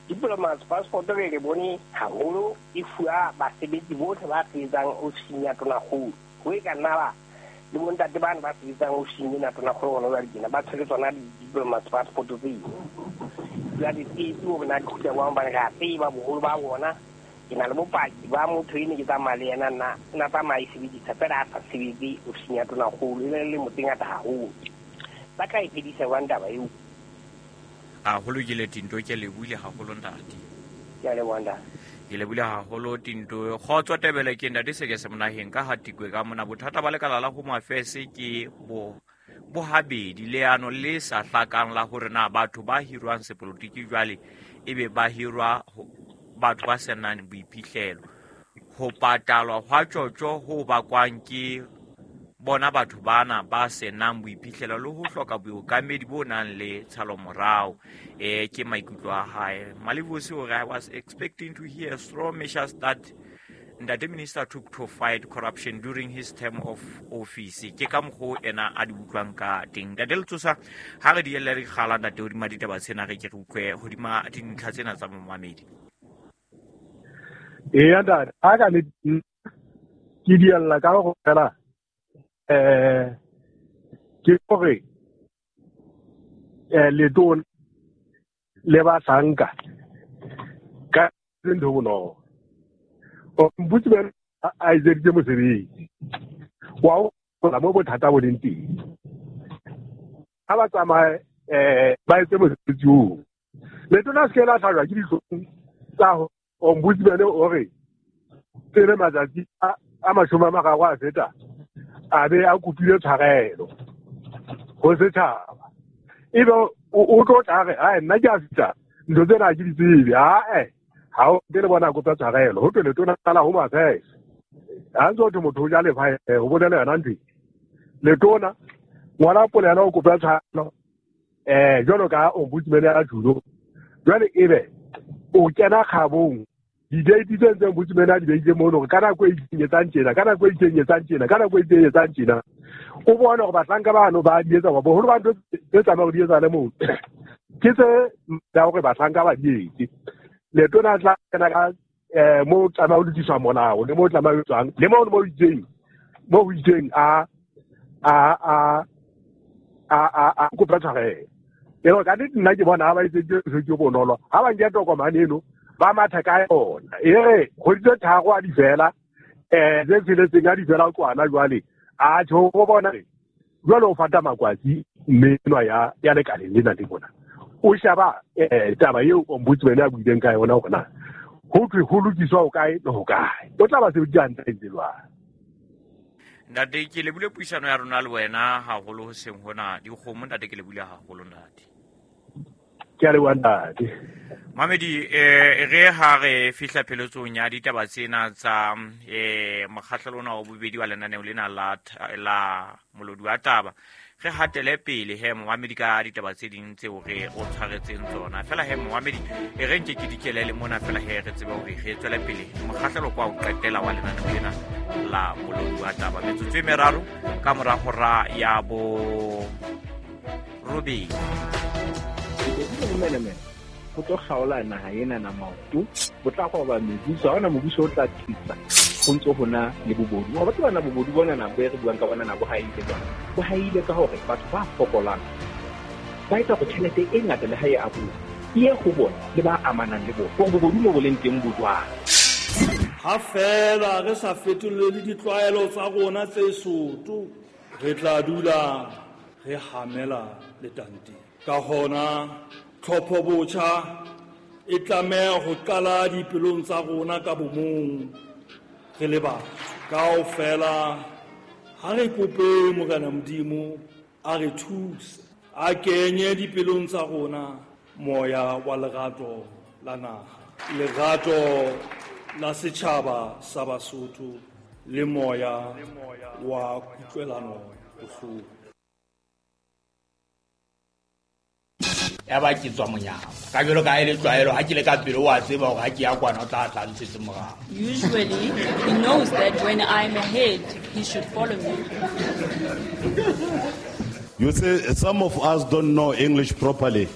[SPEAKER 6] diplomat's passport re re bone haholo e fuwa basebetsi bohle ba sebetsang ofising ya Tonakgolo. Ho e ka nna ba le bontate bana ba sebetsang ofising ena Tonakgolo hona jwale tjena ba tshwere tsona di-diplomat's passport tseo. Jwale tsietsi hore na di kgutla jwang, hobane re a tseba boholo ba bona. Ke na le bopaki ba motho ene ke tsamaya le yena nna nna tsamaya e sebedisa fela a sa sebetse ofising ya Tonakgolo, e ne le lemo tse ngata haholo. Ba tla e fedisa jwang taba eo?
[SPEAKER 2] Haholo ke le Tinto, ke lebohile haholo ntate.
[SPEAKER 6] Ke a leboha ntate.
[SPEAKER 2] Ke lebohile haholo Tinto. Kgotso Tebele ke ntate se ke se monaheng ka hatikwe ka mona. Bothata ba lekala la Home Affairs ke bo bohabedi, leano le sa hlakang la hore na batho ba hirwang sepolotiki jwale ebe ba hirwa batho ba senang boiphihlelo. Ho patalwa hwa tjotjo ho bakwang ke bona batho bana ba senang boiphihlelo le ho hloka bookamedi bo nang le tshalomorao. Eh ke maikutlo a hae. Malivosi o re, I was expecting to hear strong measures that Ntate Minister took to fight corruption during his term of office. Ke ka mokgo ena a di utlwang ka teng. Ntate Letsosa, ha re di elle re kgala ntate hodima ditaba tsena, re ke re utlwe hodima dintlha tsena tsa momamedi.
[SPEAKER 3] Eya ntate, ha ka le ke di ella ka go fela eh ke hore eh letona le bahlanka ka ntho bonolo. Ombudsman a etseditse mosebetsi wa ho mo bothata bo leng teng. Ha ba tsamaye eh ba etse mosebetsi oo. Letona se ke la hlajwa ke dihlong tsa ombudsman o re pele matsatsi a mashome a mararo a feta a be a kopile tshwarelo ho setjhaba. Ebe o tlo tla re ai nna ke a fihla ntho tsena ke di tsebe. Ae ha o ke le bona kopa tshwarelo ho tlele tona la Home Affairs. Ha ntse ho motho o ja lefa ho bolela yona ntho. Letona ngwana polelo o kopa tshwarelo eh jwalo ka ombudsman ya julo. Jwale ebe o kena kgabong di-date tse ntseng ombudsman a di beile mono hore ka nako e itseng etsang tjena, ka nako e itseng etsang tjena, ka nako e itseng etsang tjena. O bone hore bahlanka bano ba di etsa, boholo ba ntho tse tsamaya ho di etsa le moo ke tse tsa hore bahlanka ba di etse. Letona tla kena ka eh mo tsamaya ho lokiswa molao le mo tsamaya ho etswang le mo mo itseng mo ho itseng a a a a a a kopa tshwarelo. E re ka nnete nna ke bona ha ba etse ke ke bonolo ha ba nke tokomane eno ba matha ka yona. E re kgwedi tse tharo a di fela eh tse tsheletseng a di fela kwana jwale a tjho go bona jwale o fata makwatsi mme enwa ya ya lekaleng lena le bona. O shaba eh taba eo ombudsman a buileng ka yona hore na ho thwe ho lokiswa ho kae le ho kae. O tla ba sebedisa hantle ntse jwang.
[SPEAKER 2] Ntate ke lebile puisano ya rona le wena haholo hoseng hona dikgomo. Ntate ke lebile haholo ntate.
[SPEAKER 3] Ke a leboha ntate.
[SPEAKER 2] Mamedi eh re ha re fihla pheletsong ya ditaba tsena tsa eh mokgahlelo ona wa bobedi wa lenaneo lena la la molodi wa taba. Re hatele pele he momamedi ka ditaba tse ding tseo re o tshwaretseng tsona. Fela he momamedi e re nke ke dikelele mona fela he re tsebe hore re tswele pele mokgahlelo kwa o qetela wa lenaneo lena la molodi wa taba. Metsotso e meraro ka mora hora ya bo robedi.
[SPEAKER 7] Ho tlo kgaola naha ena na maoto, bo tla qoba mebuso, ha hona mobuso o tla tlisa ho ntso hona le bobodu. Wa batho bana bobodu bona na bo re buang ka bona na bo haile jwang. Bo haile ka hore batho ba fokolang ba etsa hore tjhelete e ngata le ha e abuwa e ye ho bona le ba amanang le bona. Hore bobodu mo bo leng teng bo jwang.
[SPEAKER 8] Ha fela re sa fetolele ditlwaelo tsa rona tse soto, re tla dula re hamela letanteng. Ka hona tlhopho botjha e tlameha ho qala dipelong tsa rona ka bomong re le batho. Kaofela ha re kope Morena Modimo a re thuse, a kenye dipelong tsa rona moya wa lerato la naha, lerato la setjhaba sa Basotho le moya wa kutlwelano bohloko.
[SPEAKER 9] Ya ba ke tswa monyako ka jalo ka ele tlwaelo ha ke le ka pele wa tseba hore ha ke ya kwana o tla tla ntshetse morao.
[SPEAKER 10] Usually he knows that when I'm ahead he should follow me.
[SPEAKER 11] You see, some of us don't know English properly.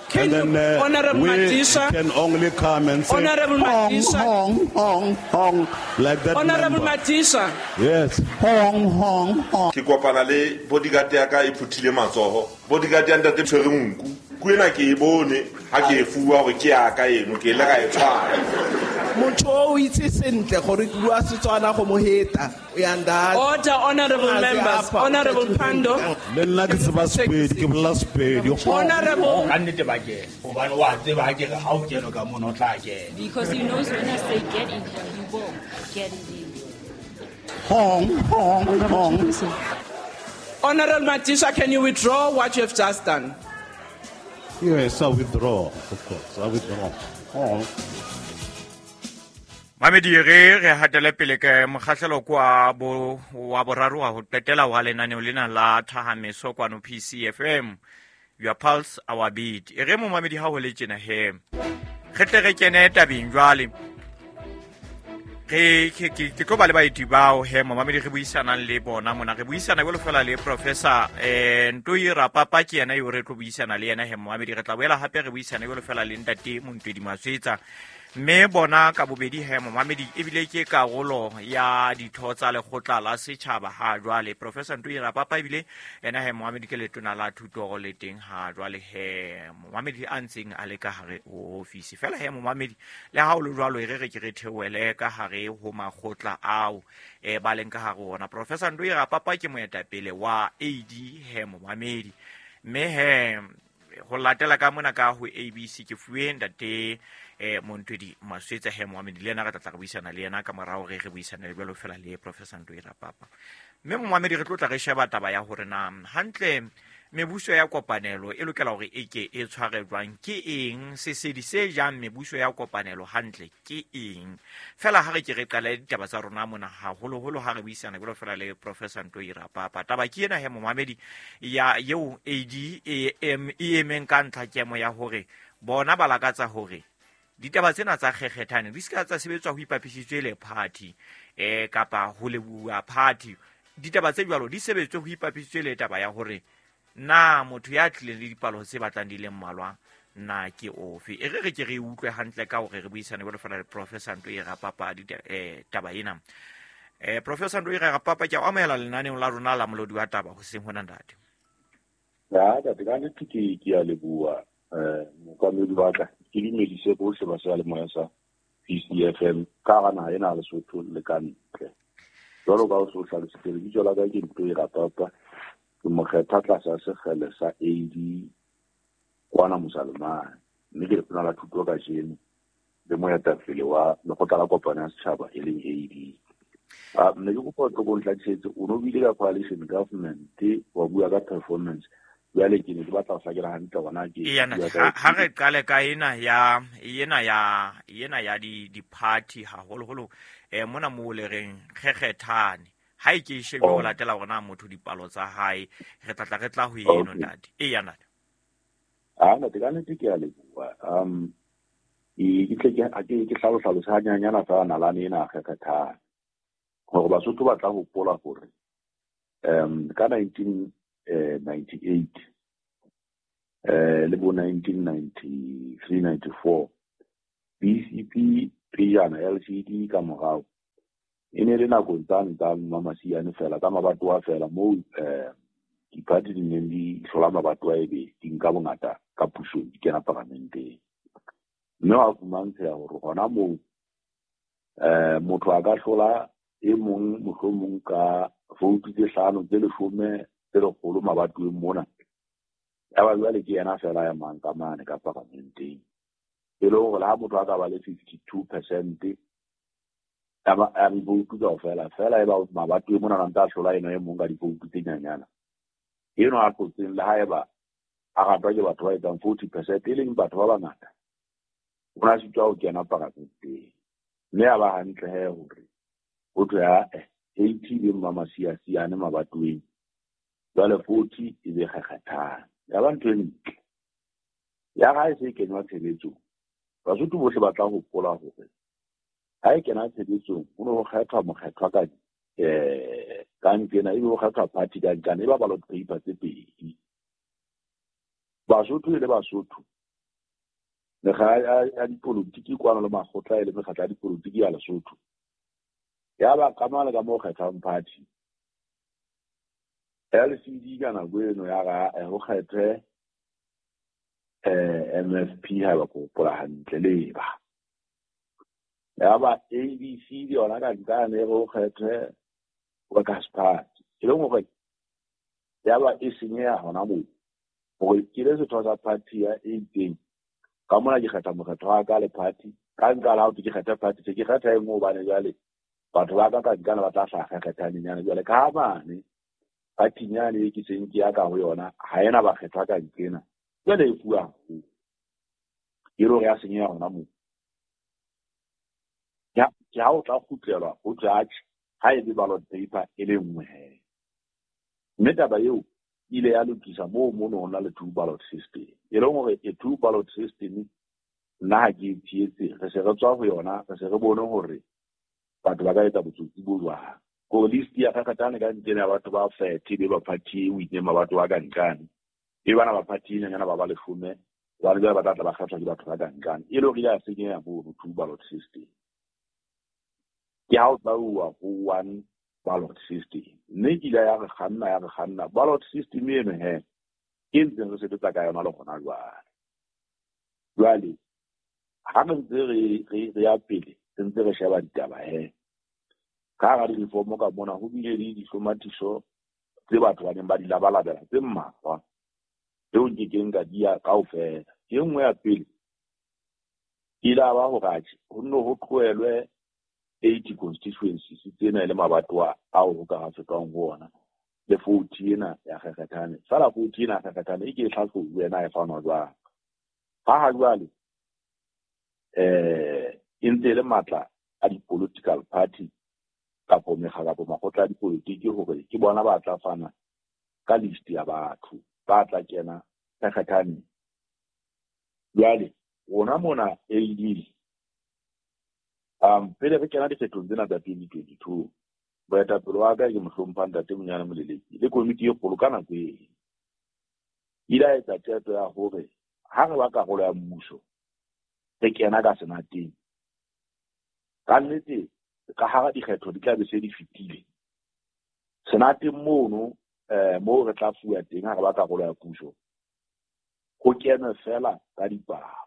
[SPEAKER 12] Can
[SPEAKER 11] and then uh,
[SPEAKER 12] Honorable
[SPEAKER 11] we
[SPEAKER 12] Madisha,
[SPEAKER 11] can only come and say
[SPEAKER 12] Honorable
[SPEAKER 11] hong,
[SPEAKER 12] Madisha,
[SPEAKER 11] hong, hong, hong, like that.
[SPEAKER 12] Honorable Madisha.
[SPEAKER 11] Yes. Hong, hong, hong.
[SPEAKER 13] Ke kopana le bodyguard ya ka e phuthile matsoho. Bodyguard ya ntate tshwere nku. Ku ena ke e bone ha ke e fuwa hore ke ya ka eno ke ile ka e tshwara.
[SPEAKER 14] Motho o itse sentle gore ke bua Setswana go mo heta.
[SPEAKER 12] Order, honorable members. Honorable Pando.
[SPEAKER 11] Le nna ke tseba Sepedi, ke bolela Sepedi.
[SPEAKER 12] Honorable.
[SPEAKER 9] Ka nnete ba kena. Hobane wa tseba ha ke re ha o kene ka mono o tla kena.
[SPEAKER 10] Because he knows when I say get in here, he will get in there.
[SPEAKER 11] Hong, hong, hong.
[SPEAKER 12] Honorable Madisha, can you withdraw what you have just done?
[SPEAKER 11] Yes, I withdraw, of course. I withdraw. Hong.
[SPEAKER 2] Mamedi re re hatele pele ke mokgahlelo kwa bo wa boraro wa ho qetela wa lenaneo lena la Thahameso kwano P C F M, your pulse our beat. E re momamedi ha ho le tjena he re tle re kene tabeng jwale. Re ke ke tlo ba le baeti bao he momamedi re buisanang le bona mona. Re buisana jwalo fela le Professor eh Ntoi Rapapa, ke yena eo re tlo buisana le yena he momamedi. Re tla boela hape re buisana jwalo fela le ntate Montwedi Maswetsa. Mme bona ka bobedi he momamedi ebile ke karolo ya ditho tsa lekgotla la setjhaba ha jwale. Professor Ntoi Rapapa ebile yena he momamedi ke letona la thuto le teng ha jwale he momamedi a ntseng a le ka hare ho ofisi. Fela he momamedi le ha o le jwalo e re re ke re theoele ka hare ho makgotla ao e ba leng ka hare ho ona. Professor Ntoi Rapapa ke moetapele wa A D he momamedi. Mme he ho latela ka mona ka ho A B C ke fuwe ntate eh Montwedi Maswetsa he momamedi le yena re tla tla re buisana le yena ka morao re re buisana le jwalo fela le Professor Ntoi Rapapa. Mme momamedi re tlo tla re sheba taba ya hore na hantle mebuso ya kopanelo e lokela hore e ke e tshware jwang, ke eng sesedi se jang mebuso ya kopanelo hantle ke eng. Fela ha re ke re qala ditaba tsa rona mona haholoholo ha re buisana jwalo fela le Professor Ntoi Rapapa. Taba ke ena he momamedi ya eo A D E M e emeng ka ntlha kemo ya hore bona ba lakatsa hore ditaba tsena tsa kgekgethane di ska tsa sebetswa ho ipapisitswe le party eh kapa ho lebuwa party. Ditaba tse jwalo di sebetswe ho ipapisitswe le taba ya hore na motho ya tlileng le dipalo tse batlang di le mmalwa na ke ofe. E re re ke re utlwe hantle ka hore re buisane jwalo fela le Professor Ntoi Rapapa di eh taba ena. Eh Professor Ntoi Rapapa, ke a amohela lenaneong la rona la molodi wa taba hoseng hona ntate.
[SPEAKER 15] Ya, ntate ka nnete ke ke a leboha eh mokamedi wa ka. Ke dumedise bohle ba seyalemoya sa P C F M ka hara naha ena ya Lesotho le ka ntle. Jwalo ka o so hlalositse, lebitso la ka ke Ntoi Rapapa, ke mokgetha tlasa sekgele sa A D kwana Mosalemane, mme ke letona la thuto kajeno le moetapele wa lekgotla la kopano ya setjhaba e leng A D. Ah, mme ke kopa o tlo ko ntlhakisetse, o no buile ka coalition government, wa bua ka performance. Jwale ke ne ke batla ho hlakela hantle hona ke
[SPEAKER 2] ha re qale ka ena ya ena ya ena ya di di party haholoholo eh mona mo le reng kgekgethane Ha e ke e shebe ho latela hore na motho dipalo tsa hae re tla tla re tla ho eno ntate. Eya ntate.
[SPEAKER 15] Ah ntate ka nnete ke a leboha. Um ke tle ke ke ke hlalosa hanyanyana fela nalane ena kgekgethang. Hore Basotho ba tla hopola hore um ka nineteen ninety-eight eh le bo nineteen ninety-three ninety-four B C P pejana L C D ka morao e ne le nakong tsane tsa Mmamasiane fela ka mabatowa fela moo eh diphathi di neng di hlola mabatowa ebe di nka bongata ka pusong di kena paramenteng. Mme wa fumantsheha hore hona moo eh motho a ka hlola e mong mohlomong ka voutu tse hlano tse leshome tse lekgolo mabatoweng mona. Ya ba jwale ke yena fela ya mang ka mane ka paramenteng. E le hore le ha motho a ka ba le fifty-two percent ya ba ya divoutu kaofela fela e ba mabatoweng mona na ntse a hlola ena e mong ka divoutu tse nyanyana. Eno a tlotseng le haeba a ratwa ke batho ba etsang forty percent e leng batho ba bangata. O na sitwa ho kena paramenteng. Mme a ba hantle he hore ho thwe ha eighty e Mmamasiasiane mabatoweng jwale forty e be kgekgethang. Ya ba ntho e ntle. Ya ha e se kenywa tshebetsong, Basotho bohle ba tla hopola hore ha e kena tshebetsong ho ne ho kgethwa mokgethwa ka eh ka nkena ebe ho kgethwa party ka nkana e ba ballot paper tse pedi. Basotho e le Basotho mekga ya dipolotiki kwano le makgotla e le mekgatlo ya dipolotiki ya Lesotho. Ya ba ka mane ka moo kgethwang party. L C D ka nako eno ya ga ho kgethwe eh M F P ha ba hopola hantle le ba. Ya ba A B C le yona ka nkane e ho kgethwe Workers Party. E leng hore ya ba e senyeha hona moo. Hore ke le setho sa party ya e itseng. Ka mona ke kgetha mokgetho wa ka le party. Ka nka la ho ke kgetha party se ke kgetha e nngwe hobane jwale batho ba ka ka nkana ba tla hlaha kgethanyenyane jwale ka mane party nyane e ke seng ke ya ka ho yona ha ena ba kgethwa ka nkena jwale e fuwa haholo. E le hore ya senyeha hona moo. Ya ke ha o tla kgutlelwa ho judge ha e be ballot paper e le nngwe he. Mme taba eo ile ya lokisa moo mono ho na le two ballot system. E leng hore e two ballot system nna ha ke e tshehetse re se re tswa ho yona re se re bone hore batho ba ka etsa botsotsi bo jwang. Ko list ya kgakgathane ka nkene ya batho ba thirty be ba party e wine mabatho ba ka nkane. E bana ba party nyana ba ba leshome ba le ba tla ba kgethwa ke batho ba ka nkane. E le hore ya senyeha mono two ballot system. Ke ha o tla uwa ho one ballot system. Mme ke ile ya re kganna ya re kganna ballot system eno he ke ntseng re sebetsa ka yona le hona jwale. Jwale ha re ntse re re re ya pele re ntse re sheba ditaba he. Ka hara di-reform ka mona ho bile le dihlomathiso tse batho ba neng ba di labalabela tse mmalwa tseo nke keng ka di ya kaofela. E nngwe ya pele e la ba hore atjhe ho nne ho tlohelwe eighty constituencies tsena e le mabatowa ao ho ka ha fetwang ho ona le forty ena ya kgekgethane. Fela forty ena ya kgekgethane e ke e hlahlobuwe na e fanwa jwang. Ha ha jwale eh e ntse e le matla a di-political party kapo mekga kapo makgotla a dipolotiki hore ke bona ba tla fana ka list ya batho ba tla kena kgekgethane. Jwale rona mona A D um pele re kena dikgethong tsena tsa twenty twenty-two boetapele wa ka ke mohlompha ntate Monyane Moleleki le komiti e kgolo ka nako eo ile a etsa qeto ya hore ha re ba karolo ya mmuso re kena ka senateng ka nnete ka hara dikgetho di tla be se di fetile senateng mono eh moo re tla fuwa teng ha re ba karolo ya puso ho kenwe fela ka dipalo.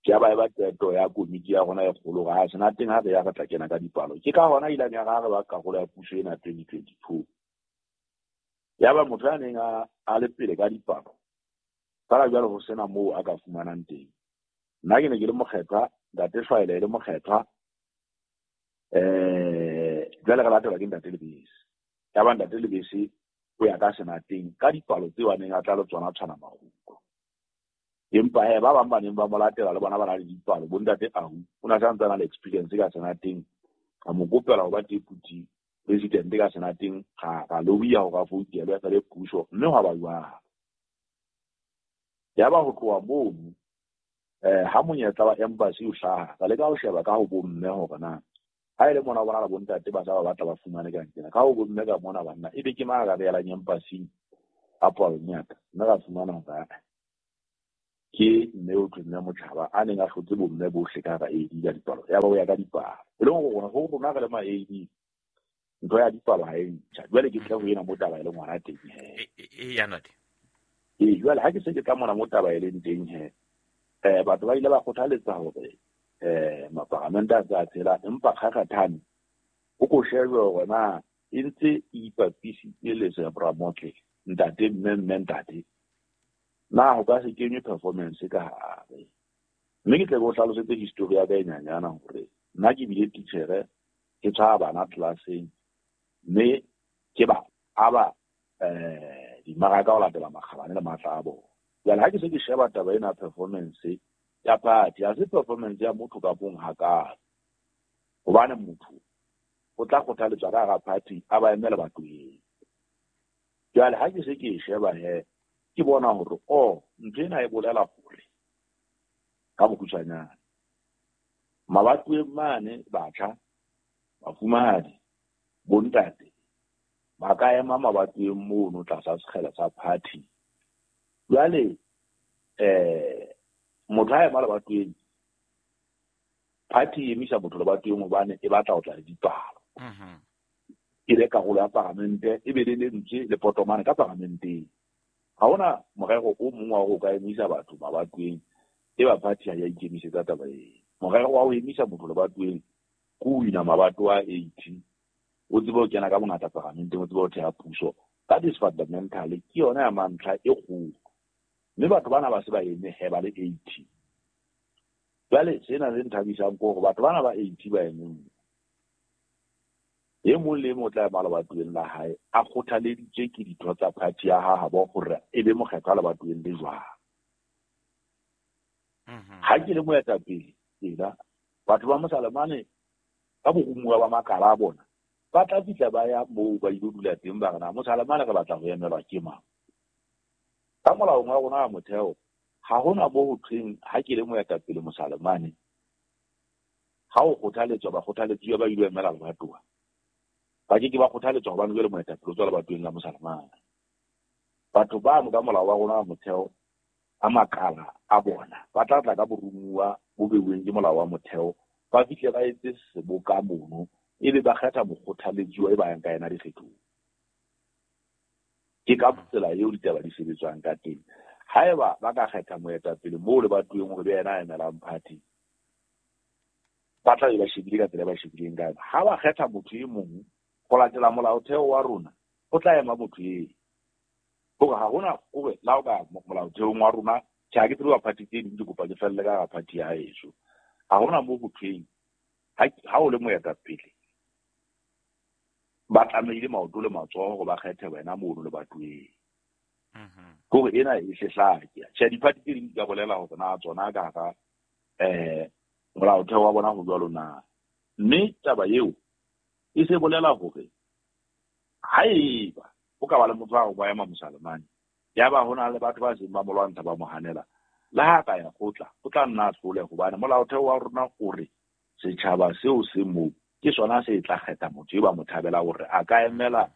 [SPEAKER 15] Ke ba e ba qeto ya komiti ya rona e kgolo ha senateng ha re ya re tla kena ka dipalo. Ke ka hona ileng ya re ba karolo ya puso ena twenty twenty-two. Ya ba motho ya neng a a le pele ka dipalo fela jwale ho sena moo a ka fumanang teng. Nna ke ne ke le mokgethwa, ntate Shwaele e le mokgethwa eh jwale re latelwa ke ntate Lebese. Ya ba ntate Lebese o ya ka senateng ka dipalo tseo a neng a tla le tsona tshwana maruko. Empa he ba bang ba neng ba mo latela le bona ba na le dipalo bo ntate Ahu o na sa ntse a na le experience ka senateng Ka mo kopela ho ba deputy president ka senateng ga ga lobiya ho ka voutelwa ka le puso mme hwa ba jwalo. Ya ba ho tloha mono eh ha monyetla wa embassy o hlaha ka leka ho sheba ka ho bomme hore na ha ile mona bona la bontate ba sa ba batla ba fumane ka ntsena ka ho bomme ka mona banna e be ke mang ka beela embassy a palong ya ka nna ka fumana hore ke mme o mme motjhaba a neng a hlotse bomme bohle ka hara A D ka dipalo ya ba o ya ka dipalo e leng hore ho rona re le ma A D ntho ya dipalo ha e ntjha. Jwale ke tla ho ena mo taba e leng hona teng he
[SPEAKER 2] e ya ntate
[SPEAKER 15] e jwale ha ke se ke tla mona mo taba e leng teng he eh batho ba ile ba kgothaletsa hore eh maparamente a tsa tsela empa kgakgathane o ko shebe hore na e ntse e ipapisitse le Zebra Motle ntate mme mme ntate na ho ka se kenywe performance ka hare. Mme ke tle ke o hlalosetse history ya ka e nyanyana hore nna ke bile titjhere ke tshwara bana tlelaseng mme ke ba aba eh dimaraka ho latela makgabane le matla a bona. Jwale ha ke se ke sheba taba ena performance ya party ha se performance ya motho ka bong hakalo hobane motho o tla kgothaletswa ka hara party a ba emele batho. Jwale ha ke se ke sheba he ke bona hore oh ntho ena e bolela hore ka bokgutshwanyane mabatoweng mane batjha bafumahadi bontate ba ka ema mabatoweng mono tlasa sekgele sa party. Jwale eh motho ha ema lebatoweng party e emisa motho lebatoweng hobane e batla ho tla le dipalo e be karolo ya paramente e be le lentswe le potomane ka paramenteng. Ha hona morero o mong wa ho ka emisa batho mabatoweng e ba party ha ya ikemisetsa taba eo. Morero wa ho emisa motho lebatoweng ke ho wina mabatowa a eighty o tsebe ho kena ka bongata paramenteng o tsebe ho theha puso. That is fundamental ke yona ya mantlha e kgolo mme batho bana ba se ba eme he ba le eighty. Jwale sena se nthabisang ke hore batho bana ba eighty ba emeng e mong le e mong o tla ema lebatoweng la hae a kgothaleditswe ke ditho tsa party ya habo hore e be mokgethwa lebatoweng le jwang. Ha ke le moetapele tsela batho ba Mosalemane ka borumuwa ba makala a bona ba tla fihla ba ya moo ba ilo dula teng ba re na Mosalemane re batla ho emelwa ke mang. Ka molaong wa rona wa motheo ha hona bo ho thweng ha ke le moetapele Mosalemane ha o kgothaletswa ba kgothaletsuwa ba ilo emela lebatowa ba ke ke ba kgothaletswa hobane jwale moetapele o tswa lebatoweng la Mosalemane. Batho bano ka molao wa rona wa motheo a makala a bona ba tla tla ka borumuwa bo beuweng ke molao wa motheo ba fihle ba etse seboka mono ebe ba kgetha mokgothaletsuwa e ba yang ka yena dikgethong. Ke ka tsela eo ditaba di sebetswang ka teng. Haeba ba ka kgetha moetapele moo lebatoweng hore be yena a emelang party ba tla be ba shebile ka tsela e ba shebileng ka yona. Ha ba kgetha motho e mong ho latela molaotheo wa rona o tla ema motho eo hore ha hona hore la o ka molaotheong wa rona tjhe ha ke tsebe wa party tse ding ke kopa ke felle ka party ya heso. Ha hona moo ho thweng ha o le moetapele ba tlamehile maoto le matsoho hore ba kgethe wena mono lebatoweng. Kore ena e hle hlake. Tjhe di-party tse ding di ka bolela hore na tsona ka hara eh molaotheo wa bona ho jwalo na. Mme taba eo e se bolela hore haeba o ka ba le motho wa ba ema Mosalemane ya ba hona le batho ba seng ba mo lwantsha ba mo hanela le ha ka ya kgotla o tla nna a hlole hobane molaotheo wa rona o re setjhaba seo se moo ke sona se tla kgetha motho e ba mo thabela hore a ka emela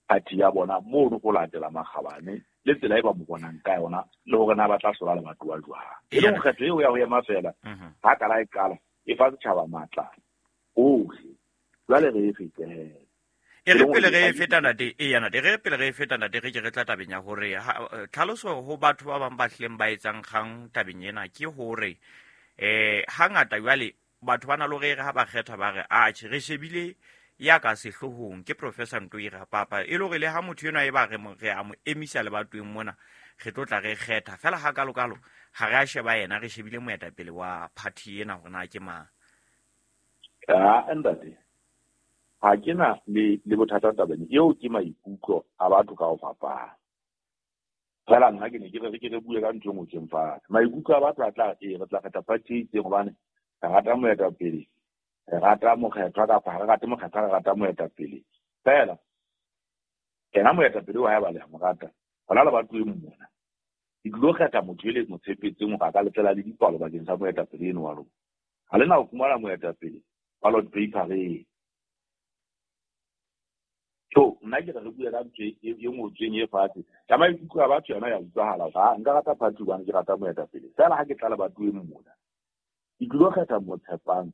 [SPEAKER 15] party ya bona mono ho latela makgabane le tsela e ba mo bonang ka yona le hore na ba tla hlola lebatowa jwang. E leng kgetho eo ya ho ema fela ha kala e qala e fa setjhaba matla ohle. Jwale re e fete he.
[SPEAKER 2] E re pele re e feta ntate e ya ntate re pele re e feta ntate re ke re tla tabeng ya hore tlhaloso ho batho ba bang ba hlileng ba etsang kgang tabeng ena ke hore eh hangata jwale batho ba na le hore ha ba kgetha ba re atjhe re shebile ya ka sehlohong ke Professor Ntoi Rapapa e le hore le ha motho enwa e ba re re a mo emisa lebatoweng mona re tlo tla re kgetha fela ha kalo kalo ha re a sheba yena re shebile moetapele wa party ena hore na ke mang.
[SPEAKER 15] Ah ntate ha ke na le le bothata tabeng eo ke maikutlo a batho ka ho fapana. Fela nna ke ne ke re ke re bue ka ntho e ngotsweng fatshe. Maikutlo a batho a tla e re tla kgetha party e itseng hobane re rata moetapele Re rata mokgethwa kapa ha re rate mokgethwa, re rata moetapele. Fela yena moetapele wa hae ba le a mo rata hona le batho e mona. Ke tlilo kgetha motho e le mo tshepetseng hore a ka letlela le dipalo bakeng sa moetapele eno wa lona. Ha le na ho fumana moetapele ballot paper-eng. So nna ke re re bue ka ntho e e ngotsweng e fatshe. Ka maikutlo a batho yona ya utlwahala hore ha nka rata party hobane ke rata moetapele. Fela ha ke tla lebatoweng mona, ke tlilo kgetha mo tshepang